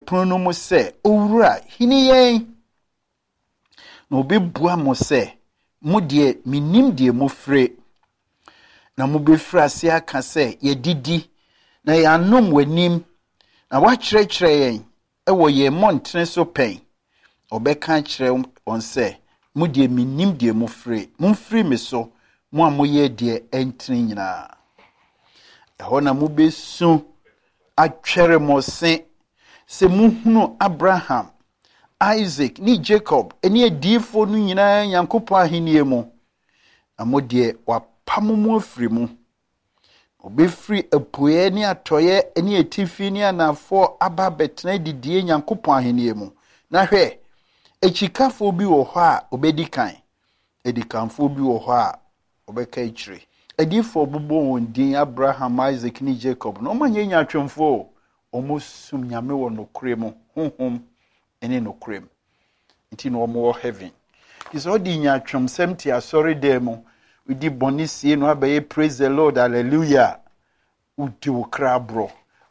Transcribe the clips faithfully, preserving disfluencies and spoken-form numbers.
Pono no mu sɛ, 'Owura, hini yɛn.' Na ɔbɛbua mo sɛ, 'Mo deɛ, mennim deɛ mofire.' Na mobɛfiri ase aka sɛ, 'Yɛadidi na yɛanom w'anim, na woakyerɛkyerɛ yɛn wɔ yɛn mmɔntene so pɛn.' Ɔbɛka akyerɛ wɔn sɛ, 'Mo deɛ, mennim deɛ mofire. Momfiri me so, mo a moyɛ deɛ ɛntene nyinaa.' Ɛhɔ na mobɛsu atwɛre mo se sɛ muhunu Abraham, Isaac ne Jacob ne adiyifoɔ no nyinaa Nyankopɔn ahennie mu, na mo deɛ, wɔapamo mo afiri mu. Wɔbɛfiri apueɛ ne atɔeɛ ne atifi ne anafoɔ aba abɛtena adidie Nyankopɔn ahennie mu. Na hwɛ, akyikafoɔ bi wɔ hɔ a wɔbɛdi kan, adikanfoɔ bi wɔ hɔ a wɔbɛka akyire. Adiyifoɔ bobɔ wɔn din Abraham, Isaac ne Jacob na wɔanyɛ nyaatwomfoɔ o. Wɔsom Nyame wɔ nokorɛ mu, honhom ne nokorɛ mu. Nti na wɔwɔ heaven. Nti sɛ ɔde nyaatwomsɛm te asɔredan mu, wodi bɔne sie no abɛyɛ praise the Lord, hallelujah. Wodi wo kra aborɔ.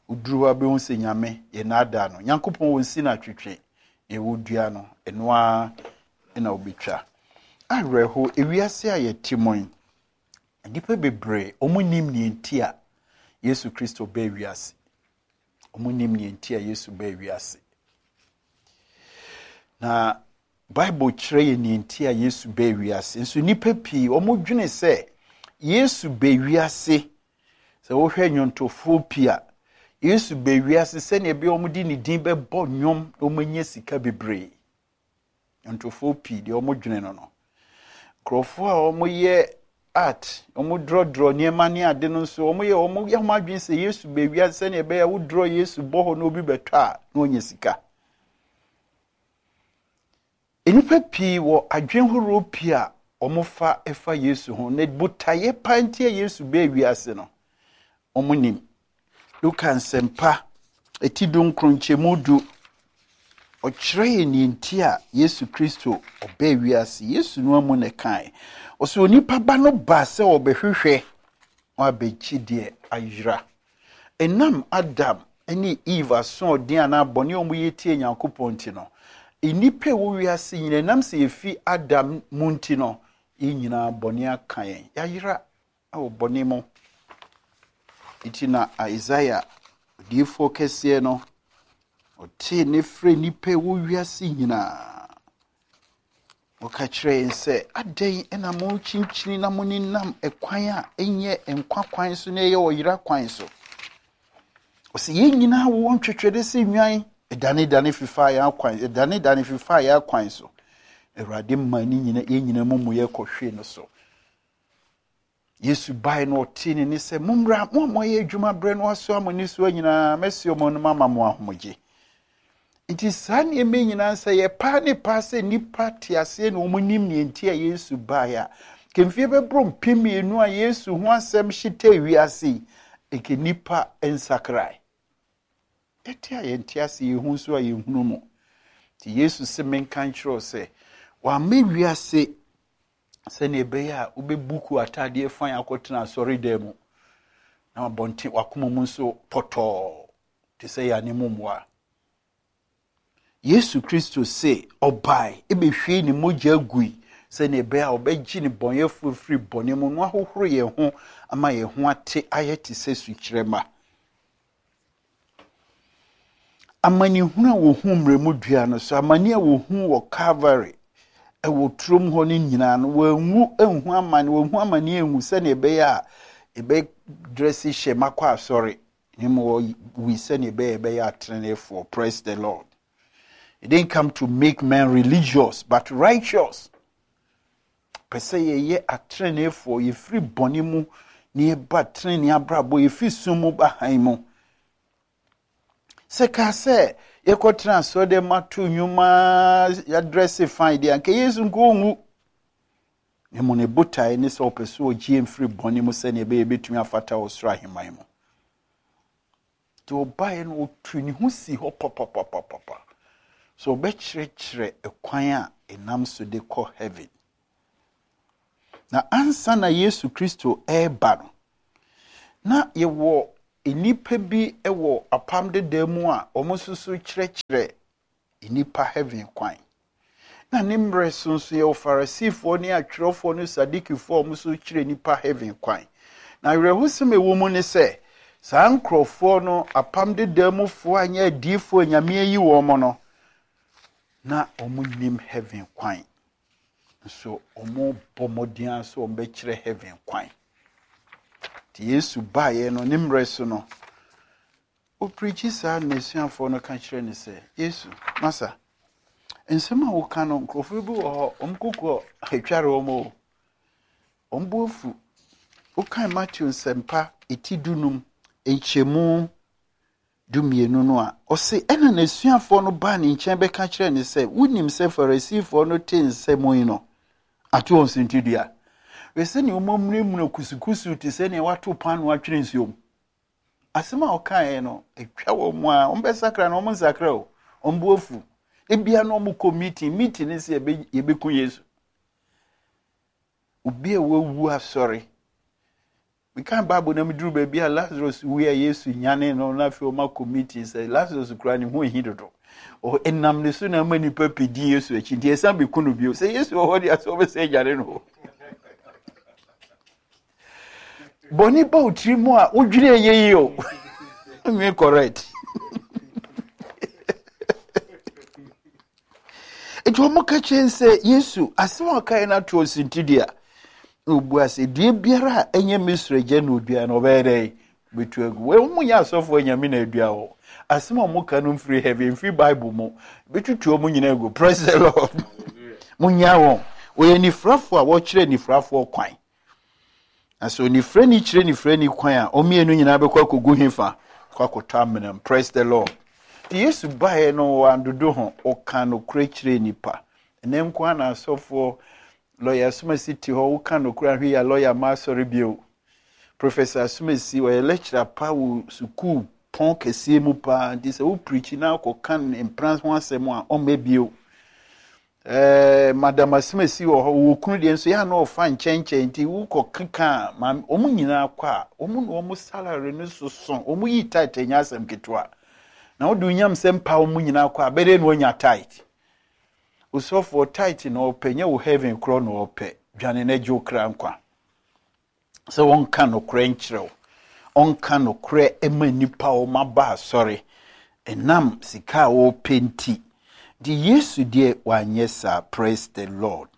Woduru hɔ abɛhu sɛ Nyame yɛ naadaa no. Nyankopɔn wɔ nsi no atwetwe. Ɛwɔ dua no, ɛno ara na wobɛtwa. Awerɛho, ewiase a yɛte mu yi, nnipa bebree, wɔn nim nea nti a Yesu Kristo baa wiase. Wɔn nim nea nti a Yesu baa wiase. Na Bible kyerɛ yɛn nea nti a Yesu baa wiase. Nso nnipa pii, wɔn dwene sɛ Yesu baa wiase. Sɛ wohwɛ nnwontofoɔ pii a, Yesu baa wiase sɛnea ɛbɛyɛ wɔn de ne din bɛbɔ nnwom na wɔanya sika bebree. Nnwontofoɔ pii deɛ wɔn dwene no no. Nkurɔfoɔ a wɔyɛ art, wɔn drɔdrɔ nneɛma ne ade no nso, wɔn yɛ wɔn yɛ wɔn adwene sɛ Yesu baa wiase sɛnea ɛbɛyɛ wodrɔ Yesu bɔ hɔ na obi bɛtɔ a na ɔnya sika. Nnipa pii wɔ adwene horow pii a wɔfa fa Yesu ho. Na botaeɛ pa nti a Yesu baa wiase no, wɔn nim. Luka Nsɛmpa eti dunkron nkyɛmu du, ɔkyerɛ yɛn nea nti a Yesu Kristo ɔbaa wiase. Yesu no amu na ɛkae. Ɔsɛ onipa ba no baa sɛ ɔbɛhwehwɛ na wabɛgye deɛ ayera. Ɛnam Adam ne Eve asoɔden anaa bɔne a wɔyɛ tie Nyankopɔn nti no, nnipa a ɛwɔ wiase nyinaa, ɛnam sɛ yɛfi Adam mu nti no, yɛn nyinaa bɔne aka yɛn. Yɛayera wɔ bɔne mu. Nti na Isaiah, odiyifoɔ kɛseɛ no, ɔtee ne frɛ nnipa a ɛwɔ wiase nyinaa. Ɔka kyerɛ yɛn sɛ, adɛn na mokyinkyini na monenam ɛkwan a ɛnyɛ nkwa kwan so na ɛyɛ ɔyera kwan so? Ɔsɛ yɛn nyinaa wɔ ntwetwɛde sɛ nnwan, ɛdanedane fifa yɛn akwan, ɛdanedane fifa yɛn akwan so. Awurade ma ne nyina yɛn nyinaa mu mu yɛ kɔhwee no so. Yesu bae no ɔtee ne ne sɛ, mommra, mo a moayɛ adwuma berɛ no asoa mo nnesoa nyinaa, mɛsi ɔmo no mama mo ahomegye. Nti saa nneɛma nyinaa sɛ yɛpaa ne paa sɛ nnipa te aseɛ na wɔn nim nea nti a Yesu baeɛ a, kemfie bɛboro mpem mmienu a Yesu ho asɛm hyetɛ wiase yi, eke nnipa nsakrae. Yɛte a yɛnte ase, yɛhu nso a yɛnhunu mu. Nti Yesu sɛ menka nkyerɛ wo sɛ, wamma wiase sɛnea ɛbɛyɛ a wobɛbuku ataadeɛ fan akɔtena asɔredan mu na abɔnten wakoma mu nso pɔtɔɔ te sɛ yɛane mu mmoa. Yesu Kristo se ɔbae ebɛhwie ne mogya gui sɛnea ɛbɛyɛ a ɔbɛgye ne bɔnyɛfoɔ firi bɔne mu na wahohoro yɛn ho ama yɛn ho ate ayɛ te sɛ sukyerɛmma. Amanehunu a wɔhu mmerɛmu dua no so, amane a wɔhu wɔ Calvary ɛwɔ turom hɔ no nyinaa no, wɔanwu anhu amane, wɔnhu amane anwu sɛnea ɛbɛyɛ a ɛbɛdrɛse hyɛ makɔ asɔre, na mmom wɔwui sɛnea ɛbɛyɛ ɛbɛyɛ ateneneefoɔ. Praise the Lord. He didn't come to make men religious, but righteous. Pɛ sɛ yɛyɛ ateneneefoɔ, yɛfiri bɔne mu na yɛba tenenee abrabɔ, yɛfiri sum mu ba hann mu. Sɛ kaa sɛ yɛkɔtena asɔre ma to nnwuma yɛadrɛse fine deɛ, anka Yesu nko ɔnwu. Na mmom ne botaeɛ ne sɛ ɔpɛ sɛ ɔgye yɛn firi bɔne mu sɛnea ɛbɛyɛ yɛbɛtumi afata wɔ soro ahemman mu. Nti ɔbaeɛ no, ɔtu ne ho si hɔ papapapapa. So ɔbɛkyerɛkyerɛ ɛkwan a ɛnam so de kɔ heaven. Na ansa na Yesu Kristo ɛreba no, na yɛwɔ nnipa bi wɔ Apam Dedaa mu a wɔn nso so kyerɛkyerɛ nnipa heaven kwan. Na ne mmerɛ so nso yɛwɔ Farisifoɔ ne atwerɛfoɔ ne Sadikifoɔ a wɔn nso kyerɛ nnipa heaven kwan. Na awerɛhosɛm a ɛwɔ mu ne sɛ, saa nkurɔfoɔ no, Apam Dedaa mufoɔ a nyɛ adiyifoɔ a Nyame ayi wɔn no, na wɔn nim heaven kwan. Nso wɔn bɔ mmɔden ara sɛ wɔn bɛkyerɛ heaven kwan. Nti Yesu baeɛ no, ne mmerɛ so no, ɔpirikyi saa na n'asuafoɔ no ka kyerɛ no sɛ, Yesu, masa, nsɛm a woka no, nkurɔfoɔ bi wɔ hɔ, wɔn koko atware wɔn o. Wɔn bo afu. Wokan Mateo Nsɛmpa eti dunum nkyɛmu dumienu no a, ɔse, ɛna n'asuafoɔ no baa ne nkyɛn bɛka kyerɛɛ no sɛ, wonim sɛ Farisifoɔ no te nsɛm yi no, ato wɔn suntidua. Hwɛ sɛnea wɔamunamuna kusukusu te sɛ nea wɔato paanoo atwene nsuom. Asɛm a ɔkaeɛ no, atwa wɔn mu a, wɔbɛsakra na wɔn nsakra o, wɔn bo afu. Ebia na wɔkɔ meeting, meeting ne sɛ yɛbɛku Yesu. Obi a wawu asɔre. Mekan Bible na meduru baabi a Lazarus wui a Yesu nyane no na afei wɔn akɔ meeting sɛ Lazarus kura ne ho ehi dodo. Ɛnam ne so na ama nipa pii di Yesu akyi nti ɛsan bɛku no bio. Sɛ Yesu wɔ hɔ deɛ sɛ wɔbɛsɛ nyane no. Bɔne ba wo tiri mu a wodwene ɛyɛ yi o. Nwe correct. Nti wɔn ka kyerɛ sɛ Yesu asɛm a ɔkaeɛ no ato ɔsintidua. Na ɔbua sɛ dua biara a ɛnyɛ me soro agya na ɔdua no ɔbɛyɛ dɛ bɛtu agu. Wɔn mu nyɛ asɔfoɔ Nyame na adua hɔ. Asɛm a wɔn ka no mfiri heaven, mfiri Bible mu. Bɛtutu wɔn nyinaa agu. Praise the Lord. Munya wɔn. Wɔyɛ nifrafoɔ a wɔkyerɛ nifrafoɔ kwan. Na sɛ onifrani kyerɛ nifrani kwan a, wɔn mmienu nyinaa bɛkɔ akɔgu hefa? Kɔ akɔtɔ amena mu. Praise the Lord. Nti Yesu baeɛ no wandodo ho, ɔka nokorɛ kyerɛ nnipa. Ɛnɛ nko ara na asɔfoɔ, lɔya Asomasi te hɔ, woka nokorɛ ahwɛ yi a lɔya ma asɔre bio. Professor Asomasi, ɔyɛ lecturer pa wɔ sukuu pɔn kɛseɛ mu paa, nti sɛ wo preachi na akɔka ne mpena ho asɛm a, ɔmmɛ bio. Eh, Madam Asomasi wɔ hɔ, wɔ kunu deɛ nso yɛ a na ɔfa nkyɛnkyɛn, nti wokɔ keka a, maame, wɔn nyinaa kɔ a, wɔn na wɔn salary no soso, wɔn yi tight ɛnyɛ asɛm ketewa. Na wode onyamsɛm pa wɔn nyinaa kɔ a, bɛdɛ na wɔnya tight. Osɔfoɔ tight na ɔpɛ, nyɛ wo heaven korɔ na ɔpɛ, dwane na gye wo kra nkwa. Sɛ wɔnka nokorɛ nkyerɛ wo, ɔnka nokorɛ ma nnipa a wɔn aba asɔre, ɛnam sika a wɔpɛ nti. Nti Yesu deɛ wanyɛ saa. Praise the Lord.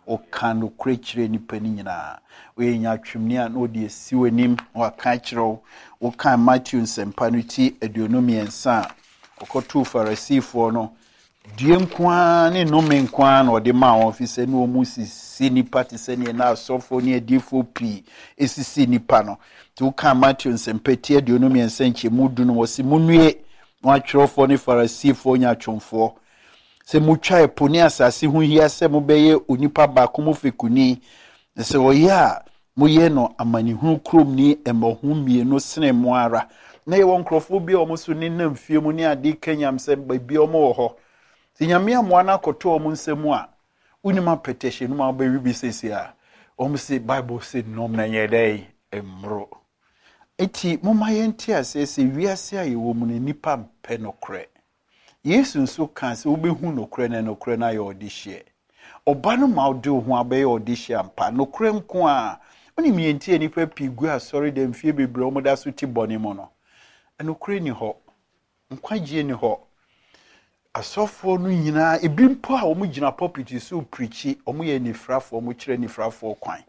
Ɔka nokorɛ kyerɛ nnipa no nyinaa. Woyɛ nyatwomni a na ɔde asi w'anim na waka akyerɛ wo. Wokan Matthew Nsɛmpa no ti aduonu mmiɛnsa a, ɔkɔtoo Farisifoɔ no, due nko ara ne nnome nko ara na ɔde maa wɔn, ɛfiri sɛ na wɔn sisi nnipa te sɛ neɛ na asɔfoɔ ne adiyifoɔ pii sisi nnipa no. Nti wokan Matthew Nsɛmpa ti aduonu mmiɛnsa nkyɛmu du no, wɔse, Monnue, mo atwerɛfoɔ ne Farisifoɔ nyaatwomfoɔ, sɛ motwa ɛpo ne asase ho hia sɛ mobɛyɛ onipa baako mu fekuni, na sɛ ɔyɛ a, moyɛ no amanehunu kuromni mmɔho mmienu sene mo ara. Na yɛwɔ nkurɔfoɔ bi a wɔn nso nenam fie mu ne ade ka nyamsɛm, baabi a wɔn wɔ hɔ. Sɛ Nyame amoa no akɔtɔ wɔn nsa mu a, wonim apɛtɛhyɛ no mu a wobɛwe bi seesei a, wɔn se Bible se nom na nyɛ dɛn? Mmoro. Enti momma yɛnte aseɛ sɛ wiase a yɛwɔ mu no, nnipa mpɛ nokorɛ. Yesu nso kaa sɛ wobɛhu nokorɛ na nokorɛ no ayɛ ɔdehyeɛ. Ɔba no ma wode wo ho abɛyɛ ɔdehyeɛ ampa, nokorɛ nko ara. Wonim deɛ nti a nnipa pii gu asɔredɛm mfeɛ bebree a wɔda so te bɔne mu no? Nokorɛ nni hɔ. Nkwagyeɛ nni hɔ. Asɔfoɔ no nyinaa, ebi mpo a wɔgyina pulpit so reprikyi, wɔyɛ anifirafoɔ, wɔkyerɛ anifirafoɔ kwan.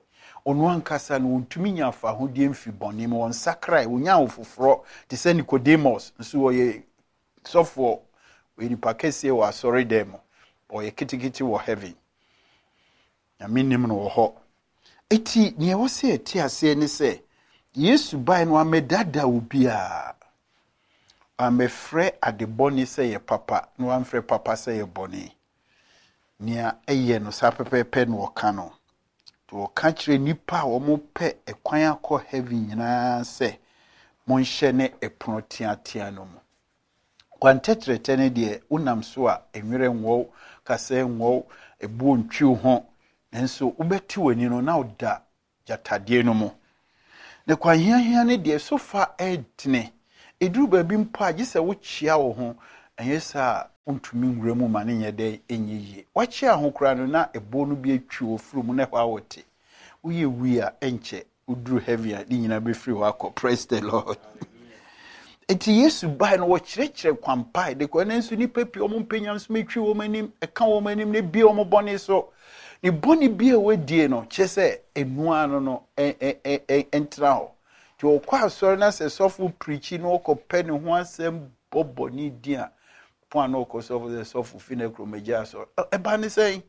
Ɔno ankasa no, wɔntumi nya afahodie mfiri bɔne mu, wɔnsakrae, wɔnya ahofoforɔ te sɛ Nicodemus, nso ɔyɛ sɔfoɔ, ɔyɛ nipa kɛseɛ wɔ asɔredan mu, ɔyɛ ketekete wɔ heaven. Nyame nim no wɔ hɔ. Eti nea ɛwɔ sɛ yɛte aseɛ ne sɛ, Yesu bae no wammɛdaadaa obiara. Wammɛfrɛ ade bɔne sɛ yɛ papa, na wamfrɛ papa sɛ yɛ bɔne. Nea ɛyɛ no saa pɛpɛɛpɛ na ɔka no. Nti ɔka kyerɛ nnipa a wɔpɛ ɛkwan akɔ heaven nyinaa sɛ, monhyɛ ne ɛpono teatea no mu. Kwan tɛtrɛtɛ no deɛ, wonam so a, nwerɛ nwɔ wo, kasɛɛ nwɔ wo, ɛboɔ ntwi wo ho, nanso wobɛte w'ani no na woda gyatadeɛ no mu. Na kwan hiahia no deɛ, so fa ɛdene. Ɛduru baabi mpo a, gye sɛ wokyea wo ho, ɛnyɛ saa a wontumi nwura mu ma ne nyɛ dɛ ɛnyɛ yie. Wakyea ho koraa no na ɛboɔ no bi atwi wɔ firi mu na ɛhɔ a wɔte. Woyɛ wui a, ɛnkyɛ woduru heaven a, ne nyinaa bɛfiri hɔ akɔ. Praise the Lord. Nti Yesu bae no, wɔkyerɛkyerɛ kwan pa de kɔ. Ɛno nso nnipa pii wɔn mpɛ nyamesom, atwi wɔn anim, ɛka wɔn anim na ebie wɔn bɔne so. Ne bɔne bi a wɔadie no, kyerɛ sɛ enua no no ɛntena hɔ. Nti ɔkɔ asɔre na sɛ sɔfo pirikyi na ɔkɔpɛ ne ho asɛm bɔ bɔne din a, pɔn a na ɔkɔ sɔfo sɛ sɔfo fi na kurom agya asɔre. Ɛba ne sɛn?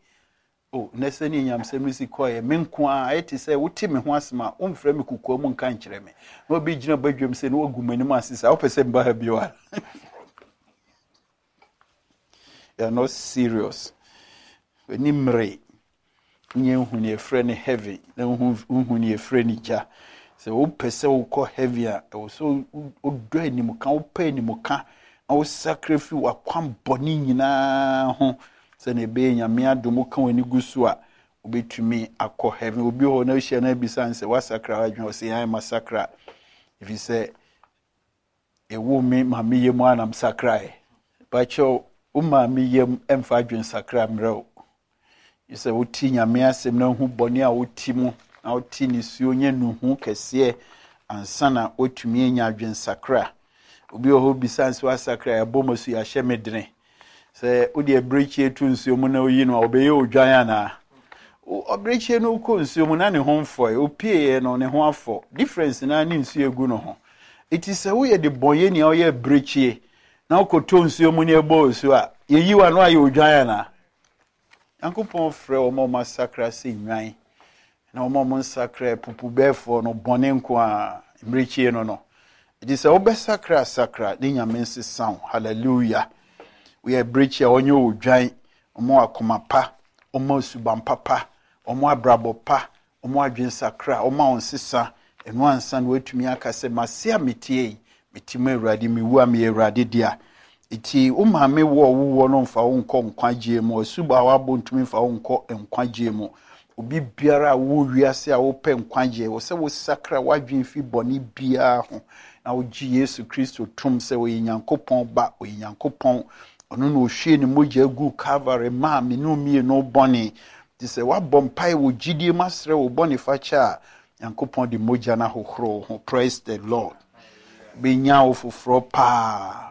O, na sɛ ne nyamsɛm no si kɔɛ, me nko a ɛte sɛ wote me ho asɛm a, womfrɛ me kokoa mu nka nkyerɛ me. Na obi gyina badwam sɛ na wagu m'anim ase saa, wopɛ sɛ mba ha bio a. You are not serious. W'ani mmere. Nyɛ nhu ne yɛfrɛ no heaven, na nhu ne yɛfrɛ no gya. Sɛ wopɛ sɛ wokɔ heaven a, ɛwɔ sɛ wodɔ animka, wopɛ animka, na wosakra firi w'akwan bɔne nyinaa ho. Sɛnea ɛbɛyɛ Nyame adom woka w'ani gu so a, wobɛtumi akɔ heaven. Obi hɔ na wohyia no abisa no sɛ woasakra w'adwene, ɔsɛ yɛn masakra. Ɛfiri sɛ ɛwo me maame yam a na mesakraeɛ. Pakyɛw, wo maame yam ɛmfa adwene sakra mmerɛ wo. Sɛ wote Nyame asɛm na wohu bɔne a wote mu, na wote nisuo nyɛ nuhu kɛseɛ ansa na wotumi anya adwene sakra. Obi wɔ hɔ bisa nso asakra, yɛabɔ mu so yɛahyɛ me dene. Sɛ wode abirekyie to nsuo mu na oyi no a, ɔbɛyɛ odwan anaa? Abirekyie no kɔ nsuo mu na ne ho mfɔe, opieeɛ no ne ho afɔ. Difference na ne nsuo egu no ho. Eti sɛ woyɛ de bɔnyɛ nea ɔyɛ abirekyie na wokɔtɔ nsuo mu na ɛbɔ nsuo a, yɛyi wa no ayɛ odwan anaa? Nyankopɔn frɛ wɔn a wɔn asakra sɛ nnwan, na wɔn a wɔn nsakra pupubɛɛfoɔ no bɔne nko a mmirekyie no no. Eti sɛ wobɛsakra sakra ne Nyame nsesa wo. Hallelujah. Woyɛ abirekyie a wɔnyɛ odwan, wɔn akoma pa, wɔn suban papa, wɔn abrabɔ pa, wɔn adwene sakra, wɔn a wɔn nsesa. Ɛno ansa na wɔatumi aka sɛ mase a metie yi, mete mu Awurade, mewu a meyɛ Awurade dea. Eti wo maame wo a wowɔ no mfa wo nkɔ nkwagyeɛ mu, asuba a wabɔ ntumi mfa wo nkɔ nkwagyeɛ mu. Obi biara a wowɔ wiase a wopɛ nkwagyeɛ, wɔ sɛ wosakra w'adwene fi bɔne biara ho na wogye Yesu Kristo tom sɛ ɔyɛ Nyankopɔn ba, ɔyɛ Nyankopɔn. Ɔno na ohwie ne mogya gu Calvary maa me ne mmienu bɔne. Nti sɛ woabɔ mpae wɔ gyidie mu asrɛ wo bɔne fakyɛ a, Nyankopɔn de mogya no ahohoro wo ho. Praise the Lord. Bɛnya wo foforɔ paa.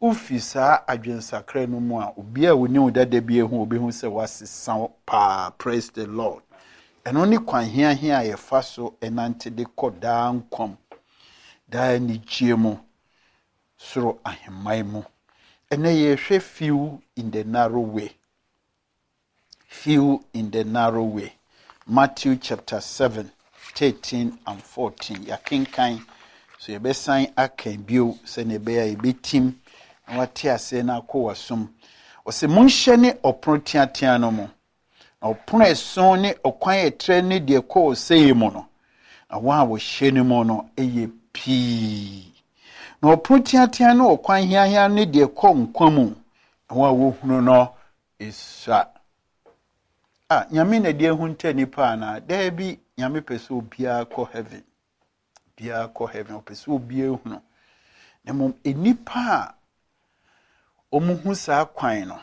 Wofi saa adwensakra no mu a, obi a oni wo dada bi ehu, obehu sɛ woasesa wo paa. Praise the Lord. Ɛno ne kwan hiahia a yɛfa so ɛnante de kɔ daa nkwa, daa anigyeɛ mu, soro ahemman mu. Ɛnɛ yɛhwɛ few in the narrow way. Few in the narrow way. Matthew chapter seven, thirteen and fourteen. Yɛakenkan so yɛbɛsan aka bio sɛnea ɛbɛyɛ a yɛbɛtim na wate aseɛ na akɔ w'asom. Ɔsɛ monhyɛ ne ɔpono teatea no mu. Na ɔpono ɛson ne ɔkwan ɛtrɛ ne deɛ ɛkɔ ɔsɛeɛ mu no, na wɔn a wɔhyɛ no mu no yɛ pii. Na ɔpono teatea ne ɔkwan hiahia ne deɛ ɛkɔ nkwa mu, na wɔn a wɔhunu no esua. A Nyame na deɛ ehunta nipa anaa? Daabi, Nyame pɛ sɛ obiara kɔ heaven. Obiara kɔ heaven, ɔpɛ sɛ obiara hunu. Na mmom nnipa a wɔn hu saa kwan no,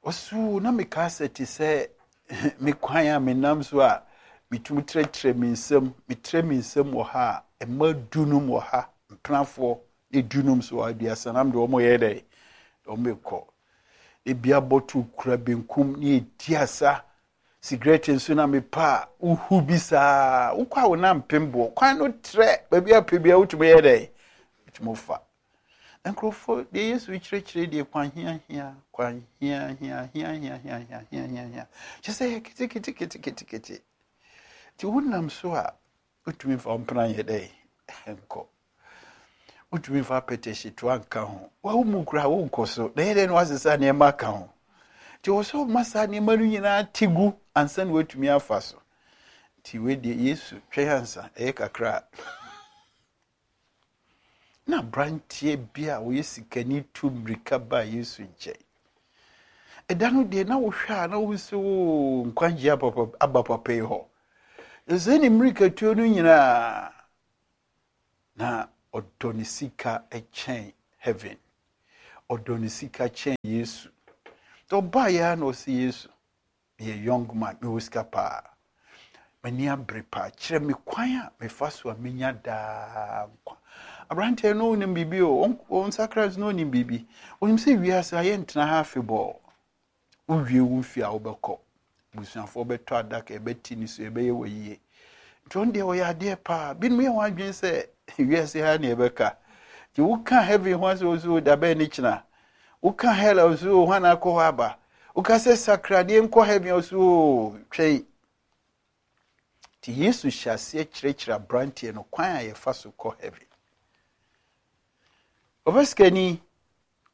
ɔso na meka sɛ te sɛ me kwan a menam so a metumi trɛtrɛ me nsam, metrɛ me nsam wɔ ha a, mma dunum wɔ ha, mpenafoɔ ne dunum so wɔ aduasa nam de wɔn yɛ dɛ, wɔn rekɔ. Ebi abɔto kura benkum ne edi asa, sigaret nso na mepa a wohu bi saa, wokɔ a wo nam mpem boɔ, kwan no trɛ, baabi a pɛ bia wotumi yɛ dɛ, wotumi fa. Nkurɔfoɔ deɛ Yesu kyerɛkyerɛ deɛ kwan hia hia, kwan hia hia hia hia hia hia hia hia hia. Kyerɛ sɛ yɛ kete kete kete kete kete. Nti wonam so a wotumi fa mpena yɛ dɛ nkɔ. Wotumi fa apɛtɛhyetoa nka ho. Wawo mu koraa wonkɔ so. Na yɛ dɛ na wasesa nneɛma aka ho. Nti wɔ sɛ ɔma saa nneɛma no nyinaa te gu ansa na watumi afa so. Nti wei deɛ Yesu twɛn ansa ɛyɛ kakra. Na aberanteɛ bi a ɔyɛ sikani tu mmirika baa Yesu nkyɛn. Ɛda no deɛ na wohwɛ a na wohu sɛ oo nkwagyeɛ aba papa yi hɔ. Ɛsɛ ne mmirikatuo no nyinaa Na ɔdɔ ne sika kyɛn heaven. Ɔdɔ ne sika kyɛn Yesu. Nti ɔbaeɛ ara na ɔse Yesu, meyɛ young man, mewɔ sika paa. M'ani abere paa. Kyerɛ me kwan a mefa so a menya daa nkwa. Aberanteɛ no ɔnim biribi o, ɔnsakra nso na ɔnim biribi. Ɔnim sɛ wiase ha yɛntena ha afebɔɔ. Wowie wo mfie a wobɛkɔ. Abusuafoɔ bɛtɔ adaka, ɛbɛti ne so, ɛbɛyɛ wɔ yie. Nti ɔno deɛ ɔyɛ adeɛ paa. Binom yɛ wɔn adwene sɛ wiase ha ne ɛbɛka. Nti woka heaven ho asɛ ɔso da bɛn ne kyena. Woka hell a ɔso hwan akɔ hɔ aba. Woka sɛ sakradeɛ nkɔ heaven ɔso twɛn. Nti Yesu hyɛ aseɛ kyerɛkyerɛ aberanteɛ no kwan a yɛfa so kɔ heaven. Ɔbɛ sikani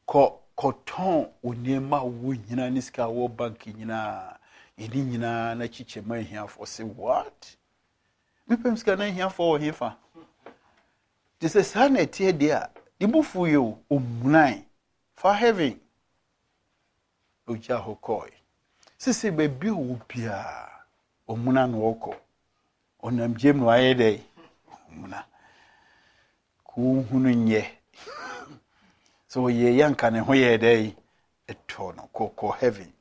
kɔ kɔtɔn wo nneɛma a wowɔ nyinaa ne sika a wɔ bank nyinaa yɛne nyinaa na kyekyɛ ma ahiafoɔ. Sɛ what? Mepɛm sika na ahiafoɔ wɔ hefa? Te sɛ saa na ɛteɛ deɛ a, ne bo fu yɛ o, ɔmunae fa heaven. Ogya hɔ kɔe. Sese baabi a ɔwɔ biara, ɔmuna na ɔkɔ. Ɔnam gyem na wayɛ dɛ ɔmuna. Kò nyɛ. Sɛ ɔyɛ yɛ nka ne ho yɛ dɛ ɛtɔ no kɔkɔ heaven.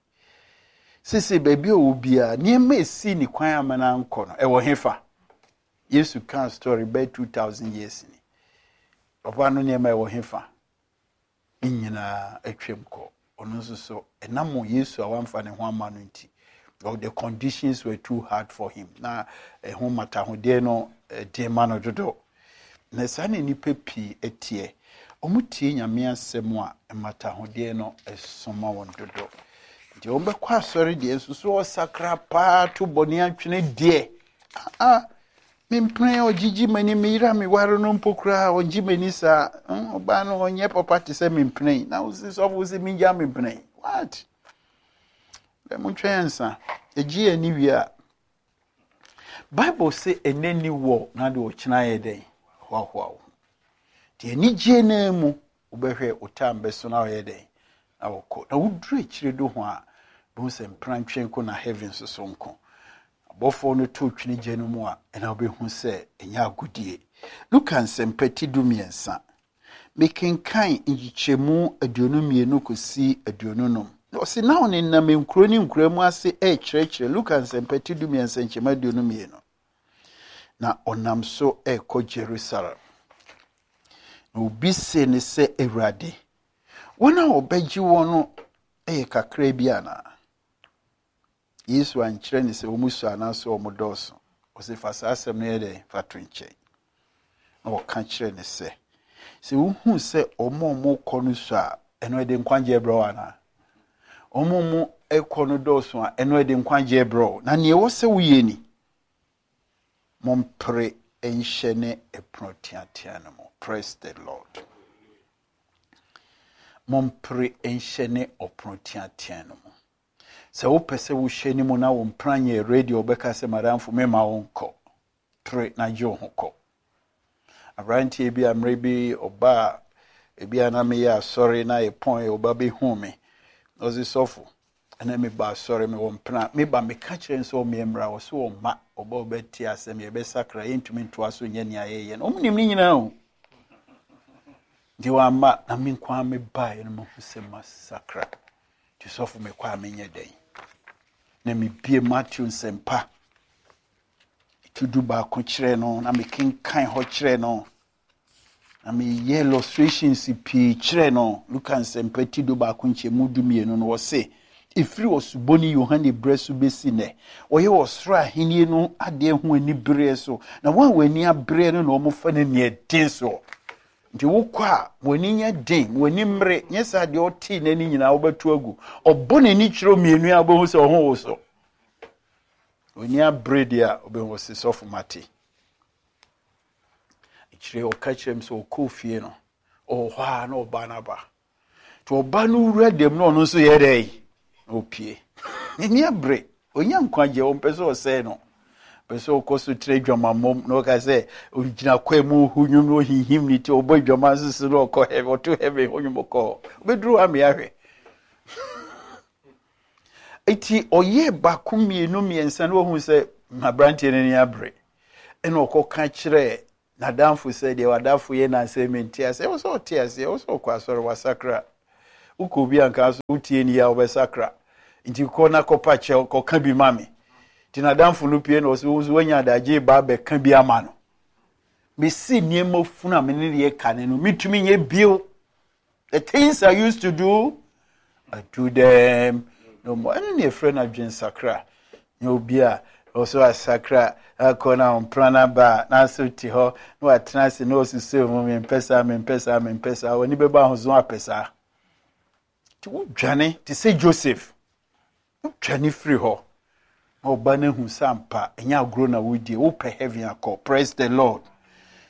Sese baabi a ɔwɔ biara, nneɛma esi ne kwan ama no ankɔ no, ɛwɔ hefa? Yesu kan story bɛyɛ two thousand years ni. Papa no nneɛma ɛwɔ hefa? Ne nyinaa atwam kɔ. Ɔno nso so, ɛnam Yesu a wamfa ne ho ama no nti, or the conditions were too hard for him. Na ɛho matahodeɛ no ɛden ma no dodo. Na saa na nnipa pii teɛ. Wɔn tie Nyame asɛm a, mmatahodeɛ no ɛso ma wɔn dodo. Nti wɔn bɛkɔ asɔre deɛ nso so ɔsakra paa to bɔne atwene deɛ. Ah, mempene ɔgyegye m'ani, meyera meware no mpo koraa ɔngye m'ani saa. Ɔbaa no ɔnyɛ papa te sɛ mempene. Na wosi sɔfo sɛ mengya mempene. What? Bɛ montwɛn nsa. Ɛgye ani wie a. Bible sɛ ɛnɛ ni wɔ na de ɔkyena yɛ dɛn? Hoahoa wo ho. Nti anigye no mu wobɛhwɛ wo time bɛso na ɔyɛ dɛn? Na wɔkɔ. Na woduru akyire do ho a, bohu sɛ mprantwe nko na heaven nso so nko. Abɔfoɔ no to twene gya no mu a, ɛna wobɛhu sɛ ɛnyɛ agodie. Luka nsɛmpa ti du mmiɛnsa. Mekenkan nkyekyɛmu aduonu mmienu kɔsi aduonu num. Ɔsi na ɔnenam nkuro ne nkuro mu ase ɛrekyerɛkyerɛ. Luka nsɛmpa ti du mmiɛnsa nkyɛmu aduonu mmienu. Na ɔnam so ɛrekɔ Jerusalem. Na obi se ne sɛ, Awurade, wɔn a wɔbɛgye wɔn no yɛ kakra bi anaa? Yesu ankyerɛ ne sɛ wɔn su anaasɛ wɔn dɔɔso. Ɔsɛ fa saa asɛm no yɛ dɛ fa to nkyɛn. Na ɔka kyerɛ ne sɛ, sɛ wohu sɛ wɔn a wɔkɔ no su a, ɛno ɛde nkwagyeɛ brɛ wo anaa? Wɔn a wɔkɔ no dɔɔso a, ɛno ɛde nkwagyeɛ brɛ wo. Na nea ɛwɔ sɛ woyɛ ni, mompere nhyɛ ne ɛpono teatea no mu. Praise the Lord. Mompere nhyɛ ne ɔpono teatea no mu. Sɛ wopɛ sɛ wohyɛ ne mu na wo mpena nyɛ ready, wobɛka sɛ madamfo mema wo nkɔ. Pere na gye wo ho kɔ. Aberanteɛ bi a mmerɛ bi ɔbaa ebi a na meyɛ asɔre na yɛpɔn ɔba bɛhu me. Ɔse sɔfo, ɛna meba asɔre mewɔ mpena. Meba meka kyerɛ no sɛ ɔmmea mmra, ɔse ɔmma. Ɔba ɔbɛte asɛm yɛbɛsakra, yɛntumi ntoa so nyɛ nea yɛyɛ no. Ɔmo nim ne nyinaa o. Nti wamma na me nko ara mebaeɛ no mahu sɛ masakra. Nti sɔfo mekɔ a menyɛ dɛn? Na mebie Matthew nsɛmpa ti du baako kyerɛ no na mekenkan hɔ kyerɛ no na meyɛ illustrations pii kyerɛ no. Luka nsɛmpa ti du baako nkyɛmu du mmienu no, wɔse ɛfiri ɔsubɔni Yohane berɛ so bɛsi nnɛ, wɔyɛ ɔsoro ahennie no adeɛ ho anibereɛ so, na wɔn a wɔn ani abereɛ no na wɔfa no nea den soɔ. Nti wokɔ a, wɔn ani nyɛ den, wɔn ani mmere, nyɛ sɛ adeɛ ɔtee n'ani nyinaa wobɛto agu. Ɔbɔ n'ani kyerɛ mmienu a, wobɛhu sɛ ɔho wo so. Wɔn ani abere deɛ a, wobɛhu sɛ sɔfo mate. Akyire ɔka kyerɛ m sɛ ɔkɔɔ fie no, ɔwɔ hɔ a na ɔbaa no aba. Nti ɔbaa no wura dɛm na ɔno nso yɛ dɛ na ɔpie. N'ani abere, ɔnya nkwagyeɛ, ɔmpɛ sɛ ɔsɛe no. Pɛ sɛ ɔkɔ so tena adwamammɔm na ɔka sɛ ɔgyina kwan mu ɔhu nnwom na ɔhinhim ne ti, ɔbɔ adwama nso so na ɔkɔ heaven, ɔto heaven hɔ nnwom kɔ hɔ. Ɔbɛduru hɔ amea hwɛ. Eti ɔyɛ baako mmienu mmiɛnsa na ɔhu sɛ aberanteɛ no ani abere. Ɛna ɔkɔka kyerɛ N'adamfo sɛ deɛ w'adamfo yɛ n'asɛm mente aseɛ. Ɛwɔ sɛ ɔte aseɛ, ɛwɔ sɛ ɔkɔ asɔre wasakra. Wokɔ obi anka so wotie ni a wobɛsakra. Nti kɔ na kɔpa kyɛw kɔka bi ma me. Nti n'adamfo no pie na ɔsɛ wo nso woanya adagye ba abɛka bi ama no. Mesi nneɛma funu a me ne yɛ ka ne no metumi nyɛ bio. The things I used to do, I do them no more. Ɛno ne yɛfrɛ no adwensakra. Nyɛ obi a ɔso asakra akɔ na ɔmpra no aba a n'aso te hɔ na watena ase na ɔsusu mu mempɛ saa mempɛ saa mempɛ saa w'ani bɛba ahozo apɛ saa. Nti wodwane te sɛ Joseph. Wodwane firi hɔ. Na ɔba no ahu sɛ ampa ɛnyɛ agorɔ na wodie wopɛ heaven akɔ. Praise the Lord.